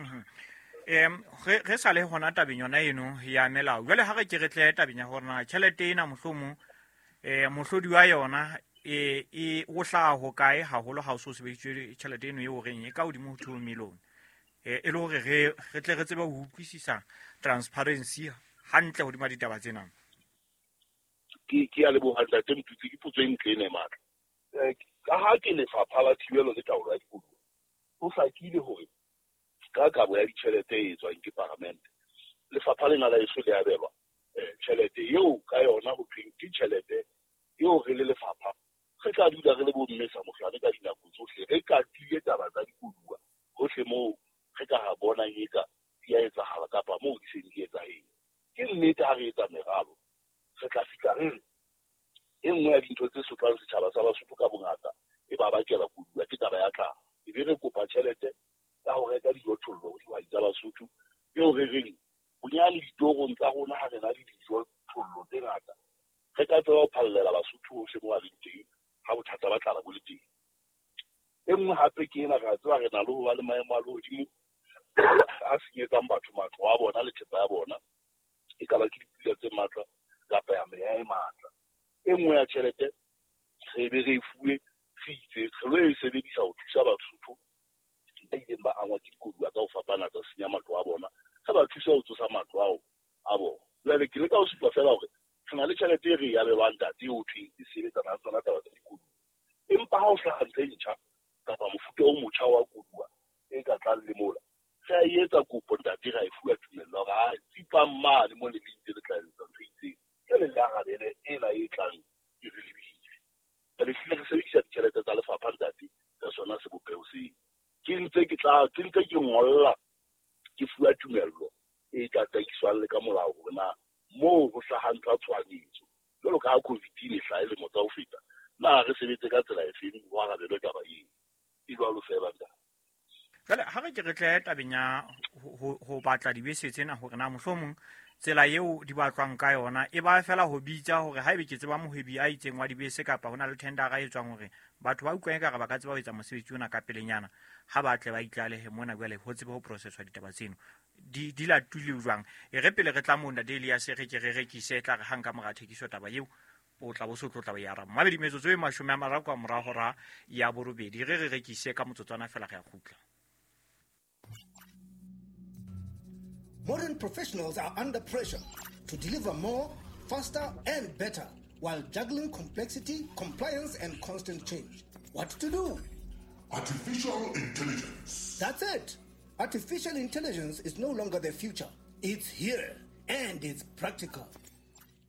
Em re re sa le hona tabeng yona eno ya melao. Jwale ha re ke re tle tabeng ya hore na tjhelete ena mohlomong eh mohlodi wa yona e e o hlaha ho kae haholo ha o so sebedisitswe tjhelete eno eo reng e ka hodimo ho two million. Eh e le hore re re tle re tsebe ho utlwisisa transparency hantle hodima ditaba tsena. Ke ke a leboha ntate Motutsi, ke potso e ntle ena e matla. Eh ka ha ke lefapha la thibelo le taolo ya dikoduwa, ho hlakile hore ka kabo ya ditjhelete e etswang ke paramente, lefapha lena la eso le abelwa tjhelete eo ka yona ho thweng ke tjhelete eo re le lefapha re tla dula re le bomme sa mohlane ka dinako tsohle, re katile taba tsa dikoduwa hohle moo re ka ha bonang eka di a etsahala kapa moo di seng di etsahetse. Ke nnete ha re etsa meralo re tla fihla re re e nngwe ya dintho tse sotlang setjhaba sa Basotho ka bongata e ba bakela koduwa ke taba ya tlhaho. E be re kopa tjhelete ka ho reka dijothollo ho dihwai tsa Basotho eo re reng bonyane ditorong tsa rona ha re na le dijothollo tse ngata re ka tseba ho phallela Basotho hohle moo ba leng teng ha bothata ba tlala bo le teng. E nngwe hape ke ena, re a tseba re na le ho ba le maemo a lehodimo a senyetsang batho matlo a bona le thepa ya bona, e ka ba ke dipula tse matla kapa ya meya e matla. E nngwe ya tjhelete re be re e fuwe re itse re lo e sebedisa ho thusa Basotho ba ileng ba angwa ke dikoduwa ka ho fapana tsa senya matlo a bona, re ba thusa ho tsosa matlo ao a bona. Jwale ke leka ho supa fela hore re na le tjhelete e re e abelwang ntate eo thweng e sebetsana le tsona taba tsa dikoduwa, empa ha o hlaha ntho e ntjha kapa mofuta o motjha wa koduwa e ka tlang le mola, re a e etsa kopo ntate, ra e fuwa tumello hore ha tsipang mane mo le le ntse le tla etsa ntho e itseng, jwale le arabele ena e tlang e re lebile. Re hlile re sebedisa ditjhelete tsa lefapha ntate ka sona sebopeho seo. Ke ntse ke tla ke ntse ke ngolla ke fuwa tumello e tataiswang le ka molao hore na moo ho hlahang tsa tshohanyetso jwalo ka ha COVID e ne hlaha lemo tsa ho feta, na re sebetse ka tsela efeng ho arabelwe taba eo. E jwalo fela ntate. Jwale ha re ke re tle tabeng ya ho batla dibese tsena hore na mohlomong tsela eo di batlwang ka yona e ba fela ho bitsa hore haebe ke tseba mohwebi a itseng wa dibese kapa hona le tendera e tswang hore batho ba utlwang ekare ba ka tseba ho etsa mosebetsi ona ka pelenyana, ha ba tle ba itlalehe mona jwale ho tsebe ho processwa ditaba tseno di di latule jwang. E re pele re tla moo ntate Elias re ke re rekise tla re hang ka mora thekiso taba eo o tla bo so tlo tla ba ya araba. Mabedi metsotso e mashome a mararo ka mora hora ya borobedi, re re rekise ka motsotswana fela re a kgutla. Modern professionals are under pressure to deliver more, faster, and better while juggling complexity, compliance, and constant change. What to do? Artificial intelligence. That's it. Artificial intelligence is no longer the future. It's here, and it's practical.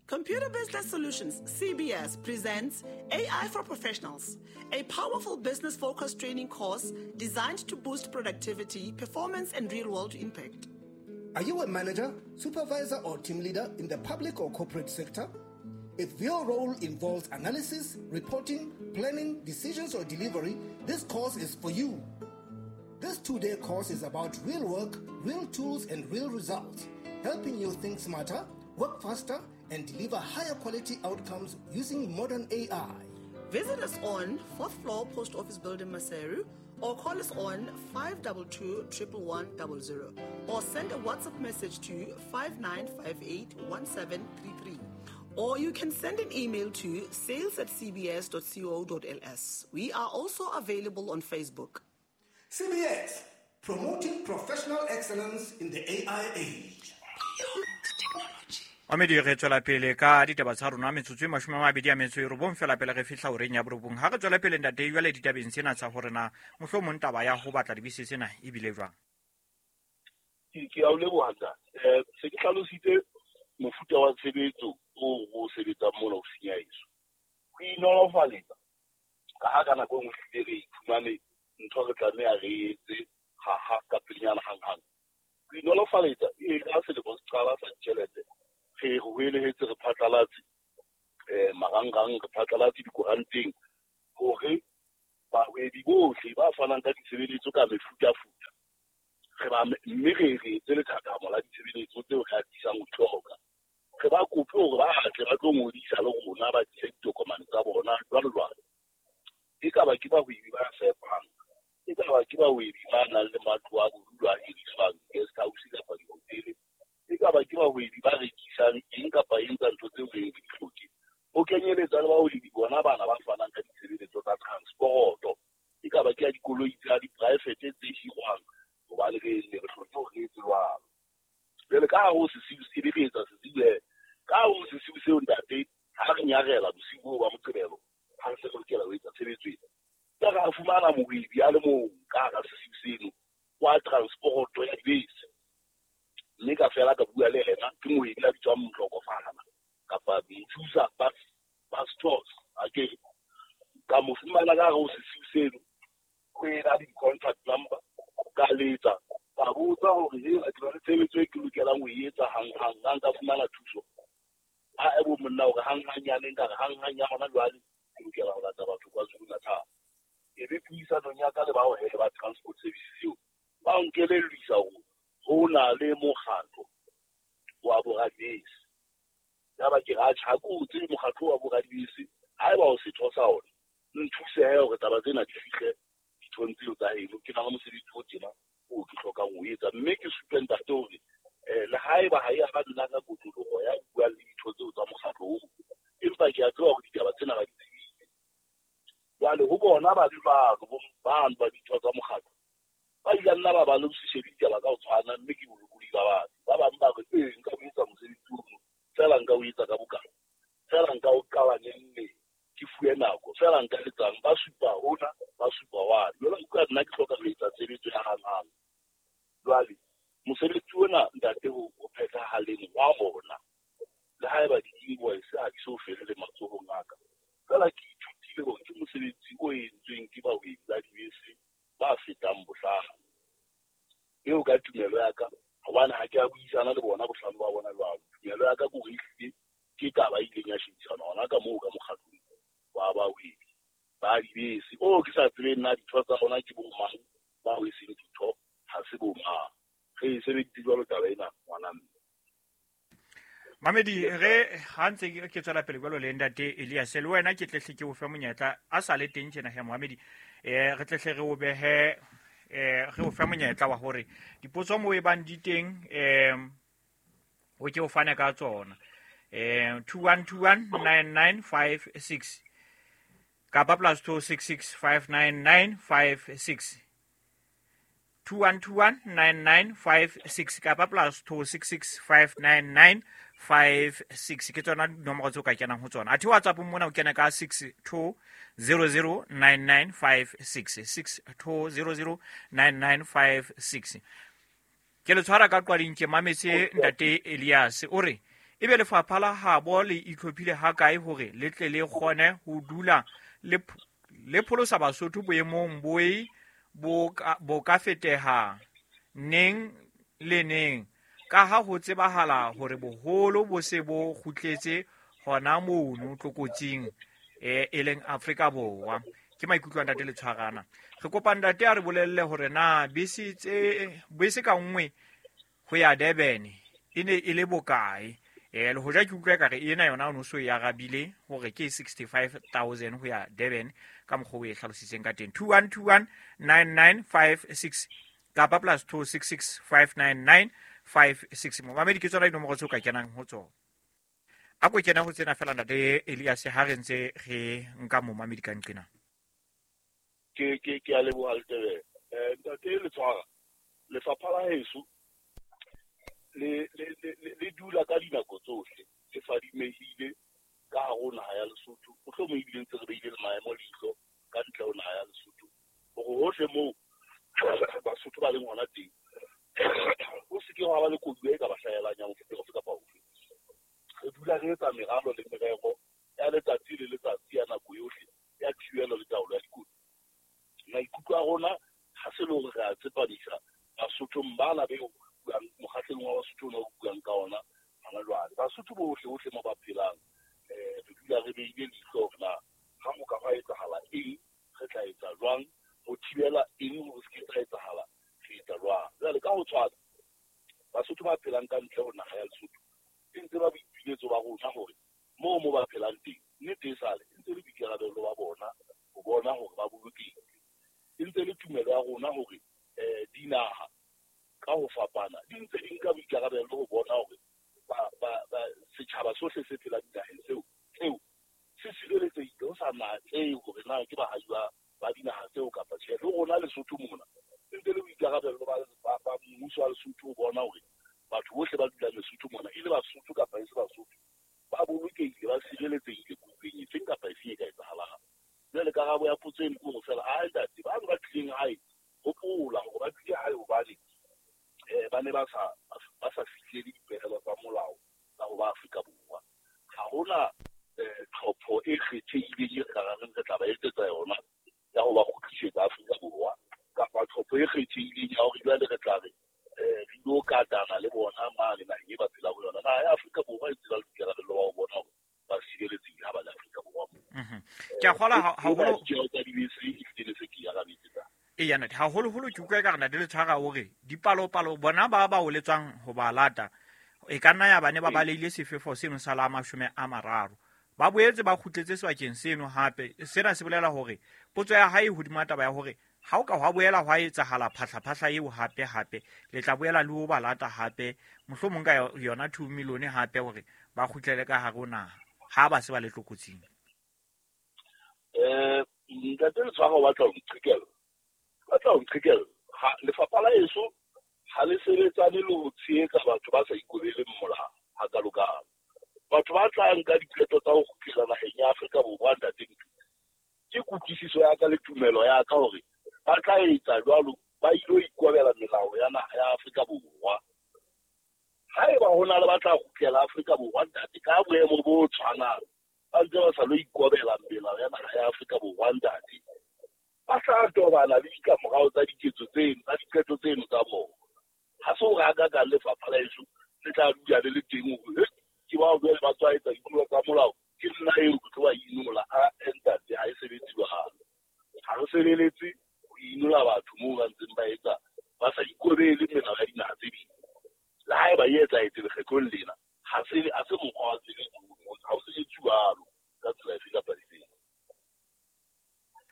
Computer Business Solutions, C B S, presents A I for Professionals, a powerful business-focused training course designed to boost productivity, performance, and real-world impact. Are you a manager, supervisor, or team leader in the public or corporate sector? If your role involves analysis, reporting, planning, decisions, or delivery, this course is for you. This two-day course is about real work, real tools, and real results, helping you think smarter, work faster, and deliver higher quality outcomes using modern A I. Visit us on fourth floor Post Office Building, Maseru, or call us on five two two, one one one zero zero, or send a WhatsApp message to five nine five eight, one seven three three. Or you can send an email to sales at c b s dot co dot l s. We are also available on Facebook. C B S, promoting professional excellence in the A I age. Amedi re tswela pele ka ditaba tsa rona metsotso e mashome a mabedi a metso e robong fela pele re fihla horeng ya borobong. Ha re tswela pele ntate jwale ditabeng tsena tsa hore na mohlomong taba ya ho batla dibese tsena e bile jwang. Ke ke a o leboha ntate. Eh se ke hlalositse mofuta wa tshebetso o o sebetsang mona ofising ya heso. Ho inolofaletsa ka ha ka nako e nngwe hlile re iphumane ntho re tlameha re etse ha ha ka pelenyana hanghang. Ho inolofaletsa e ka selemo se qala sa ditjhelete re hoelehetse re phatlalatse eh marangrang, re phatlalatse dikoranteng Re ba mme re re etse lethathamo la ditshebeletso tseo re atisang ho di hloka. Re ba kope hore ba tle ba tlo ngodisa le rona, ba tlise ditokomane tsa bona jwalo jwalo. E ka ba ke bahwebi ba fepang, e ka ba ke bahwebi ba nang le matlo a bodulo a hiriswang, guest house kapa dihotele, e ka ba ke bahwebi ba rekisang eng kapa eng tsa ntho tseo re di hloke. Ho kenyeletsa le bahwebi bona bana ba fanang ka ditshebeletso tsa transport-o, e ka ba ke ya dikoloi tsa di-private tse hirwang, hobane re ne re hloke hore re etse jwalo. Jwale ka hare ho sesiu se be re etsa sesiu he, ka hare ho sesiu seo ntate, ha re nyarela bosiu boo ba Moqebelo, ha re se re lokela ho etsa tshebetso ena. Ka ra fumana mohwebi a le mong ka hara sesiu seno wa transport-o ya dibese. Mme ka fela ka bua le yena, ke mohwebi a bitswang Motlokofana kapa Mothusa Bus Tours, akere. Ka mo fumana ka hare ho sesiu seno, ho ena le di-contact number, ka letsa, ka botsa hore he, ke na le tshebetso e ke lokelang ho e etsa hanghang, ha nka fumana thuso. Ha e bo monna hore hanghang yane, nka re hanghang ya hona jwale, ke lokela ho lata batho KwaZulu-Natal. E be puisanong ya ka le bao he ba transport services eo, ba nkelellisa hore ho na le mokgatlo wa boradibese. Yaba ke re, atjhe, ha ke o tsebe mokgatlo wa boradibese, haeba o setho sa ona, nthuse he hore taba tsena di fihle dithong tseo tsa heno. Ke na le mosebetsi o tjena oo ke hlokang ho etsa, mme ke supe ntate hore eh, le haeba ha e ya ba nna ka kotloloho ya bua le ditho tseo tsa mokgatlo oo, empa ke a tseba hore ditaba tsena ba di tsebile. Jwale ho bona ba le jwalo, bo bano ba ditho tsa mokgatlo, ba ile nna ba ba le ho se shebe ditaba ka ho tshwana, mme ke bolokolohi ba batho. Ba bang ba re, ee, nka o etsa mosebetsi ono, feela nka o etsa ka bokana, feela nka o qala neng neng, ke fuwe nako, feela nka etsang, ba supa hona, ba supa wane. Jwale utlwa nna ke hloka ho etsa tshebetso ya hanghang. Jwale mosebetsi ona ntate ho ho phethahaleng wa ona, le haeba di-invoice ha di so fele le matsohong a ka, feela ke ithutile hore ke mosebetsi o entsweng ke bahwebi ba dibese ba fetang bohlano. Eo ka tumelo ya ka, hobane ha ke a buisana le bona bohlano ba bona jwalo, tumelo ya ka ke hore ehlile ke taba e ileng ya shebisana hona ka moo ka mokgatlong wa bahwebi ba dibese. Oo ke sa tsebeng na ditho tsa bona ke bo mang, bao e seng ditho ha se bo mang. Re e sebeditse jwalo taba ena, ngwana mme. Mamedi, re ha ntse ke tswela pele jwalo le ntate Elias, le wena ke tlehle ke o fe monyetla a sa le teng tjena he Mohamedi, eh re tlehle re o behe eh re o fe monyetla wa hore dipotso mo e bang di teng eh o ke o fane ka tsona. Eh two one two one nine nine five six kapa plus two six six five nine nine five six. two one two one nine nine five six kapa plus two six six five nine nine five six ke tsona dinomoro tseo ka kenang ho tsona. Athe WhatsApp mona o kena ka six two zero zero nine nine five six, six two zero zero nine nine five six. Ke le tshwara ka qwading ke mametse ntate Elias o re ebe lefapha la habo le itlhophile ha kae hore le tle le kgone ho dula le le pholosa Basotho boemong boe bo ka, bo ka feteha neng le neng, ka ha ho tsebahala hore boholo bo se bo kgutletse hona mono tlokotsing e e leng Afrika Borwa. Ke maikutlo a ntate le tshwarana. Re kopa ntate a re bolelle hore na bese tse bese ka nngwe ho ya Durban e ne e le bokae. Eh le hoja ke utlwa ka re ena yona o no so e arabile hore ke sixty-five thousand ho ya Durban ka mokgwa o e hlalositseng ka teng. two one two one nine nine five six kapa plus two six six five nine nine five six. Momamedi ke tsona dinomoro tseo ka kenang ho tsona. A ko kena ho tsena fela ntate Elias ha re ntse re nka momamedi ka nqena. Ke ke ke a leboha Letebele. Eh ntate le tshwara lefapha la heso le le le le dula ka dinako tsohle le fadimehile ka hare ho naha ya Lesotho. Mohlomong ebile ntse re beile le maemo leihlo ka ntle ho naha ya Lesotho hore hohle moo Basotho ba leng hona teng ho se ke hwa ba le koduwa e ka ba hlahelang ya mofuta ofe kapa ofe. Re dula re etsa meralo le merero ya letsatsi le letsatsi ya nako yohle ya thibelo le taolo ya dikotsi. Maikutlo a rona ha se le hore re a tsepamisa Basothong bana be buang mokgatlong wa Basotho ona o buang ka ona hona jwale. Basotho bohle hohle mo ba phelang eh re dula re beile leihlo hore na ha ho ka hwa etsahala eng, re tla etsa jwang ho thibela eng hore se ke tsa etsahala, re etsa jwang. Jwale ka ho tshwana Basotho ba phelang ka ntle ho naha ya Lesotho e ntse ba boipiletso ba rona hore moo mo ba phelang teng nnete e sale e ntse le boikarabelo ba bona ho bona hore ba bolokehile. E ntse le tumelo ya rona hore um dinaha ka ho fapana di ntse di nka boikarabelo ho bona hore ba ba ba setjhaba sohle se phelang dinaheng tseo tseo se sireletsehile ho sa natsehe hore na ke baahi ba ba dinaha tseo kapa tjhe. Le rona Lesotho mona e ntse le boikarabelo ba ba mmuso wa Lesotho ho bona hore batho bohle ba dulang Lesotho mona e le Basotho kapa e se Basotho ba bolokehile ba sireletsehile kotsing efeng kapa efeng e ka etsahalang. Jwale karabo ya potso eno ke hore feela a ntate ba ba tlileng hae hopola hore ba tlile hae hobane eh ba ne ba sa ba sa fihlele dipehelo tsa molao tsa ho ba Afrika Borwa. Ha hona tlhopho e kgethehileng e ka reng re tla ba etsetsa yona ya ho ba kgutlisetsa Afrika Borwa kapa tlhopho e kgethehileng ya hore jwale re tla re eh re lo katana le bona mane naheng e ba phelang ho yona. Naha ya Afrika Borwa e tseba boikarabelo ba ho bona hore ba sireletsehile ha ba le Afrika Borwa. Ke a kgolwa haholo ditjeho tsa dibese e hlile se ke arabetse tsa e ya ntate haholoholo ke utlwa ekare ntate Letshwara hore dipalopalo bona ba ba oletswang ho ba lata e ka nna ya bane ba balehile sefefo seno sa la mashome a mararo ba boetse ba kgutletse sebakeng seno hape. Sena se bolela hore potso ya hae hodima taba ya hore ha o ka hwa boela hwa etsahala phahlaphahla eo hape hape le tla boela le ho ba lata hape mohlomong ka yona two million hape hore ba kgutlele ka hare ho naha ha ba se ba le tlokotsing. Eh ntate Letshwara o batla ho nqhekella batla ho nqhekella ha lefapha la heso ha le sebetsane le ho tshehetsa batho ba sa ikobeleng molao hakalokalo. Batho ba tlang ka diqeto tsa ho kgutlela naheng ya Afrika Borwa ntate Ntutse ke kutlwisiso ya ka le tumelo ya ka hore ba tla etsa jwalo ba ilo ikobela melao ya naha ya Afrika Borwa. Haeba ho na le ba tla kgutlela Afrika Borwa ntate ka boemo bo tshwanang ba ntse ba sa lo ikobela melao ya naha ya Afrika Borwa ntate ba tla tobana le ditlamorao tsa diketso tseno tsa diqeto tseno tsa bona. Ha se hore hakakang lefapha la heso le tla dula le le teng hore ke bao jwale ba tswa etsa ditlolo tsa molao ke nna eo ke tlo ba inola. A ntate ha e sebetse jwalo. Ha re sebeletse ho inola batho moo ba ntseng ba etsa ba sa ikobele melao ya dinaha tse ding. Le haeba e etsahetse lekgetlong lena ha se ha se mokgwa wa tshebetso ha o sebetse jwalo ka tsela efe kapa efe.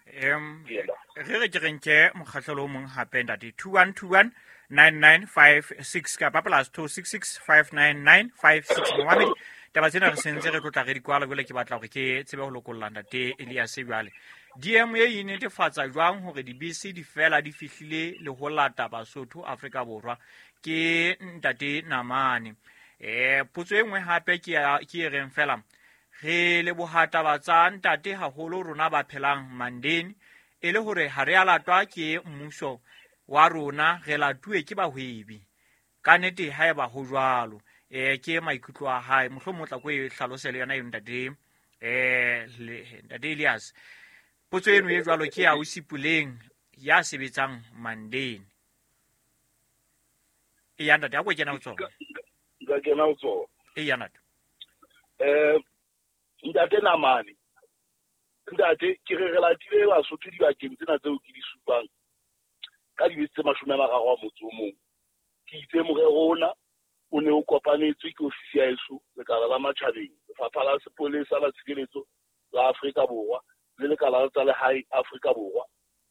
Em re re ke re nke mokgahlelo o mong hape ntate two one two one nine nine five six kapa plus two six six five nine nine five six. Momamedi taba tsena re sentse re tlotla re di kwala jwale ke batla hore ke tsebe ho lokolla ntate Elias jwale. D M A e netefatsa jwang hore dibese di fela di fihlile le ho lata Basotho Afrika Borwa ke ntate Namane. Eh potso e nngwe hape ke ke e reng fela re leboha taba tsa ntate haholo rona ba phelang Mandeni e le hore ha re a latwa ke mmuso wa rona re latuwe ke bahwebi ka nnete haeba ho jwalo. Eh ke maikutlo a hae mohlomong o tla ko e hlalose le yona eo ntate eh ntate Elias. Potso eno e jwalo ke ya Osipuleng ya sebetsang Mandeni. E ya ntate a ko kena ho tsona. Nka kena ho tsona. E ya ntate. Eh ntate Namane ntate ke re re latile Basotho dibakeng tsena tseo ke di supang ka dibese tse mashome a mararo a motso o mong. Ke itse morero ona o ne o kopanetswe ke ofisi ya heso lekala la matjhabeng lefapha la sepolesa la tshireletso la Afrika Borwa le lekala la tsa lehae Afrika Borwa.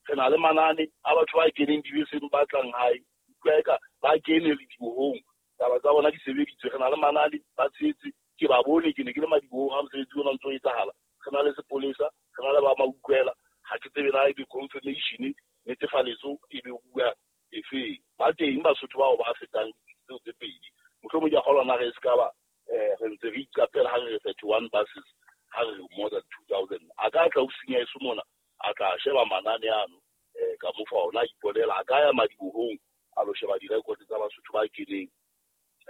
Re na le manane a batho ba keneng dibeseng ba tlang hae utlwa eka ba kene le dibohong taba tsa bona di sebeditswe. Re na le manane ba tshetse ke ba bone ke ne ke le madibohong ha mosebetsi ona ntso etsahala. Re na le sepolesa re na le ba mautlwela ha ke tsebe na ebe confirmation netefaletso e be bua efeng. Ba teng Basotho bao ba fetang tseo tse pedi mohlomong ke a kgolwa na re se ka ba eh re ntse re iqapela ha re re thirty one buses ha re more than two thousand. A ka tla ofising ya heso mona a tla sheba manane ano eh ka mo fa ona a iponela a ka ya madibohong a lo sheba direkoto tsa Basotho ba keneng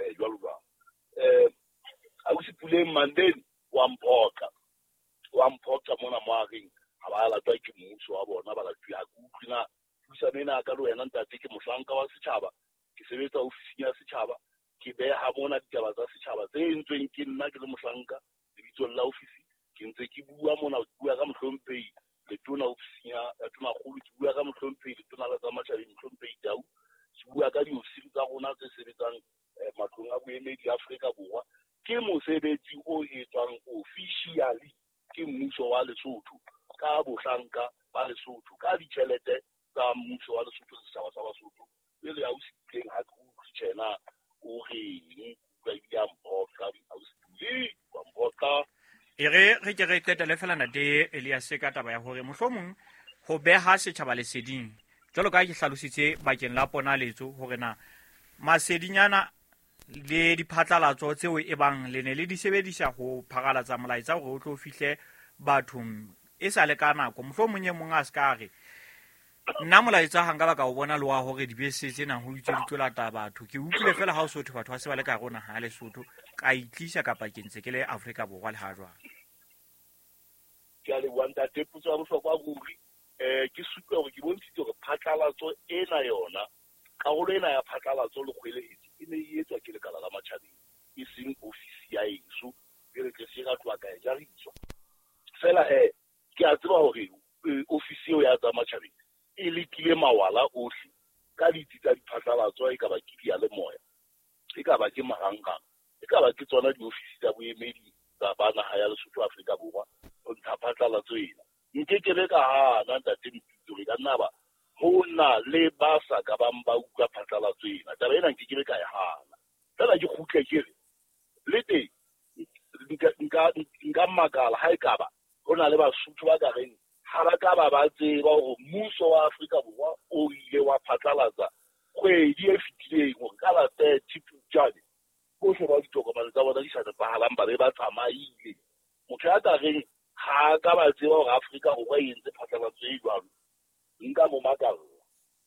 eh jwalo jwalo. Eh Ausi Puleng Mandeni wa mphoqa wa mphoqa mona mo a reng ha ba latwa ke mmuso wa bona ba latuwe. Ha ke utlwe na puisano ena ka le wena ntate ke mohlanka wa setjhaba ke sebetsa ofising ya setjhaba ke beha mona ditaba tsa setjhaba tse entsweng ke nna ke le mohlanka lebitsong la ofisi ke ntse ke bua mona ke bua ka mohlomphehi letona ofising ya tonakgolo ke bua ka mohlomphehi letona la tsa matjhabeng mohlomphehi Tau ke bua ka diofisiri tsa rona tse sebetsang matlong a boemedi Afrika Borwa. Ke mosebetsi o etswang officially ke mmuso wa Lesotho ka bohlanka ba Lesotho ka ditjhelete tsa mmuso wa Lesotho, setjhaba sa Basotho. Pele ha o sitleng ha ke utlwe tjena o reng ka ebile a mphoqa, ha o sitlile wa mphoqa. E re re ke re qetele fela ntate Elias ka taba ya hore mohlomong ho beha setjhaba leseding jwalo ka ke hlalositse bakeng la ponaletso hore na masedinyana le diphatlalatso tseo e bang le ne le di sebedisa ho pharalatsa molaetsa hore o tlo fihle bathong e sa le ka nako. Mohlomong e mong a se ka re nna molaetsa ha nka ba ka o bona le wa hore dibese tsena ho itse di tlo lata batho, ke utlwile fela ha o sotho batho ba se ba le ka rona ha Lesotho ka itlisa kapa ke ntse ke le Afrika Borwa le ha jwang. Ke a leboha ntate, potso ya bohlokwa ruri. Eh ke supe hore ke bontshitse hore phatlalatso ena yona, karolo ena ya phatlalatso le kgwelehetso e ne e etswa ke lekala la matjhabeng, e seng ofisi ya eso e re tle se ka tloha ka e jariswa. Fela he ke a tseba hore ofisi eo ya tsa matjhabeng e lekile mawala ohle ka ditsi tsa diphatlalatso, e ka ba ke diyalemoya, e ka ba ke marangrang, e ka ba ke tsona diofisi tsa boemedi tsa ba naha ya Lesotho Afrika Borwa ho ntsha phatlalatso ena. Nke ke be ka hana ntate Moputso hore ka nna ba ho na le ba sa ka bang ba utlwa phatlalatso ena. Taba ena nke ke be ka e hana. Fela ke kgutle ke re le teng nka nka nka makala ha ekaba ho na le Basotho ba ka reng ha ba ka ba ba tseba hore mmuso wa Afrika Borwa o ile wa phatlalatsa kgwedi e fetileng hore ka la thirty Phupjane bohle ba ditokomane tsa bona di sa nepahalang ba be ba tsamaile. Motho ya ka reng ha ka ba tseba hore Afrika Borwa e entse phatlalatso e jwalo, nka mo makalla.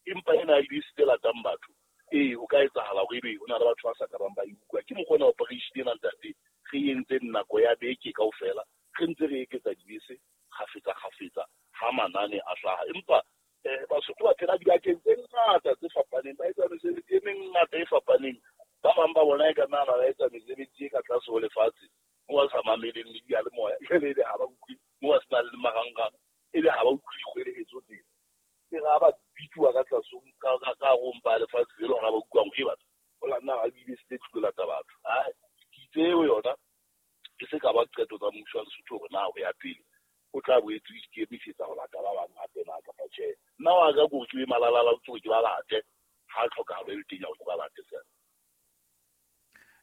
Empa ena e dibese tse latang batho, ee ho ka etsahala hore ebe ho na le batho ba sa ka bang ba e utlwa. Ke mokgwa ona operation ena ntate re entseng nako ya beke kaofela, re ntse re eketsa dibese kgafetsa kgafetsa ha manane a hlaha. Empa eh Basotho ba phela dibakeng tse ngata tse fapaneng, ba etsa mesebetsi e mengata e fapaneng. Ba bang ba bona e ka nna ba etsa mesebetsi e ka tlase ho lefatshe mo ba sa mameleng le diyalemoya, jwale ebe ha ba utlwe mo ba senang le marangrang, ebe ha ba utlwe dikgwelehetso tsena. Ke ra ba bitsuwa ka tlase ka ka ka ho mpa lefatshe le lona ba utlwang e batho ho la nna ha dibese tse tlo lata batho. Ai tseo yona ke se ka ba qeto tsa mmuso wa Lesotho hore na ho ya pele o tla boetse o ikemisetsa ho lata ba bang hape na kapa tjhe. Nna wa ka ke hore ke be malalala o tsore ke ba late ha tlhokahalo e le teng ya hore ke ba late fela.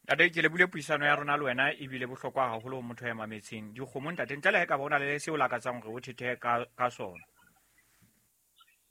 Ntate, ke lebule puisano ya rona le wena ebile bohlokwa haholo ho motho ya mametseng. Dikgomo ntate, ntle le ha e ka ba o na le seo o lakatsang hore o thethehe ka ka sona.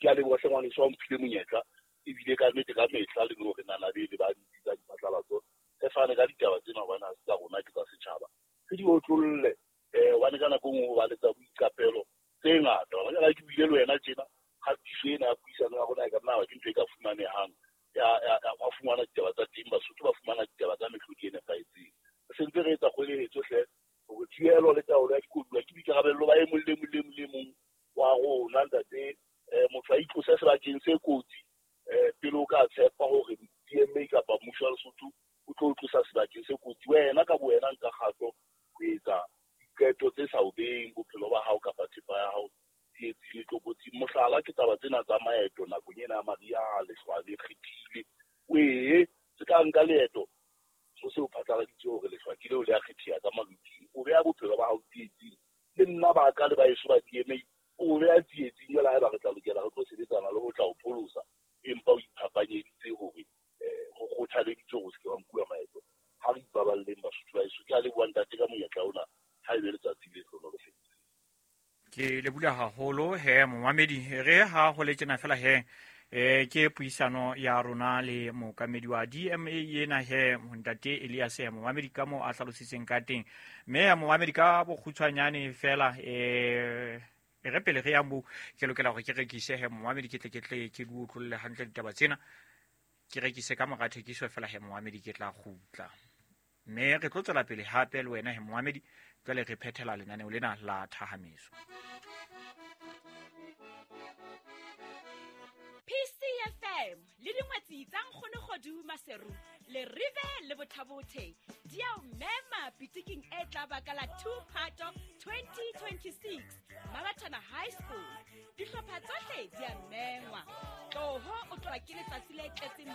Ke a leboha hle ngwaneso, wa mphile monyetla ebile ka nnete ka mehla le hore nana bele ba ditsi tsa diphatlalatso re fane ka ditaba tsena hobane ha se tsa rona ke tsa setjhaba. Re di otlolle eh hobane ka nako e nngwe ho ba le tsa boiqapelo tse ngata. Hobane ha ke buile le wena tjena, kgatiso ena ya puisano ya rona e ka nna ba ke ntho e ka fumanehang ya ya wa fumana ditaba tsa teng, Basotho ba fumana ditaba tsa mehlodi e nepahetseng. Re sentse re etsa kgwelehetso hle hore thibelo le taolo ya dikoduwa ke boikarabello ba e mong le mong le mong le mong wa rona ntate. Eh motho a itlose sebakeng se kotsi eh pele o ka tshepa hore D M A kapa mmuso wa Lesotho o tlo o tlosa sebakeng se kotsi. Wena ka bowena nka kgato ho etsa diqeto tse sa o beheng bophelo ba hao kapa thepa ya hao tsietsing le tlokotsing. Mohlala ke taba tsena tsa maeto nakong ena ya mariha, lehlwa le kgethile. O ee se ka nka leeto ho se o phatlaladitse hore lehlwa ke leo le a kgetheha ka maluting, o beha bophelo ba hao tsietsing. Le nna ba ka le ba eso ba D M A o beha tsietsing jwale haeba re tla lokela re tlo sebetsana le ho tla o pholosa, empa o iphapanyeditse hore eh ho kgothaleditse hore o se ke wa nkuwa maeto. Ha re ipaballeng Basotho ba heso. Ke a leboha ntate ka monyetla ona, ha ebe letsatsi le hlohonolofetse. Ke lebula haholo he momamedi, re ha ho le tjena fela he eh ke puisano ya rona le mookamedi wa D M A ena he ntate Elias he momamedi ka mo a hlalositseng ka teng. Mme ya momamedi ka bokgutshwanyane fela eh e re pele re ya moo ke lokela hore ke rekise he momamedi, ke tle ke tle ke di utlolle hantle ditaba tsena, ke rekise ka mora thekiso fela he momamedi ke tla kgutla. Mme re tlo tswela pele hape le wena he momamedi, jwale re phethela lenaneo lena la Thahameso. P C F M le dingwetsi tsa Nkgono Kgodu Maseru le Rive le Bothabothe di a o mema pitiking e tla ba ka la two Phato twenty twenty-six Mabathana High School. Dihlopha tsohle di a mengwa. Tloho o tloha ke letsatsi le tletseng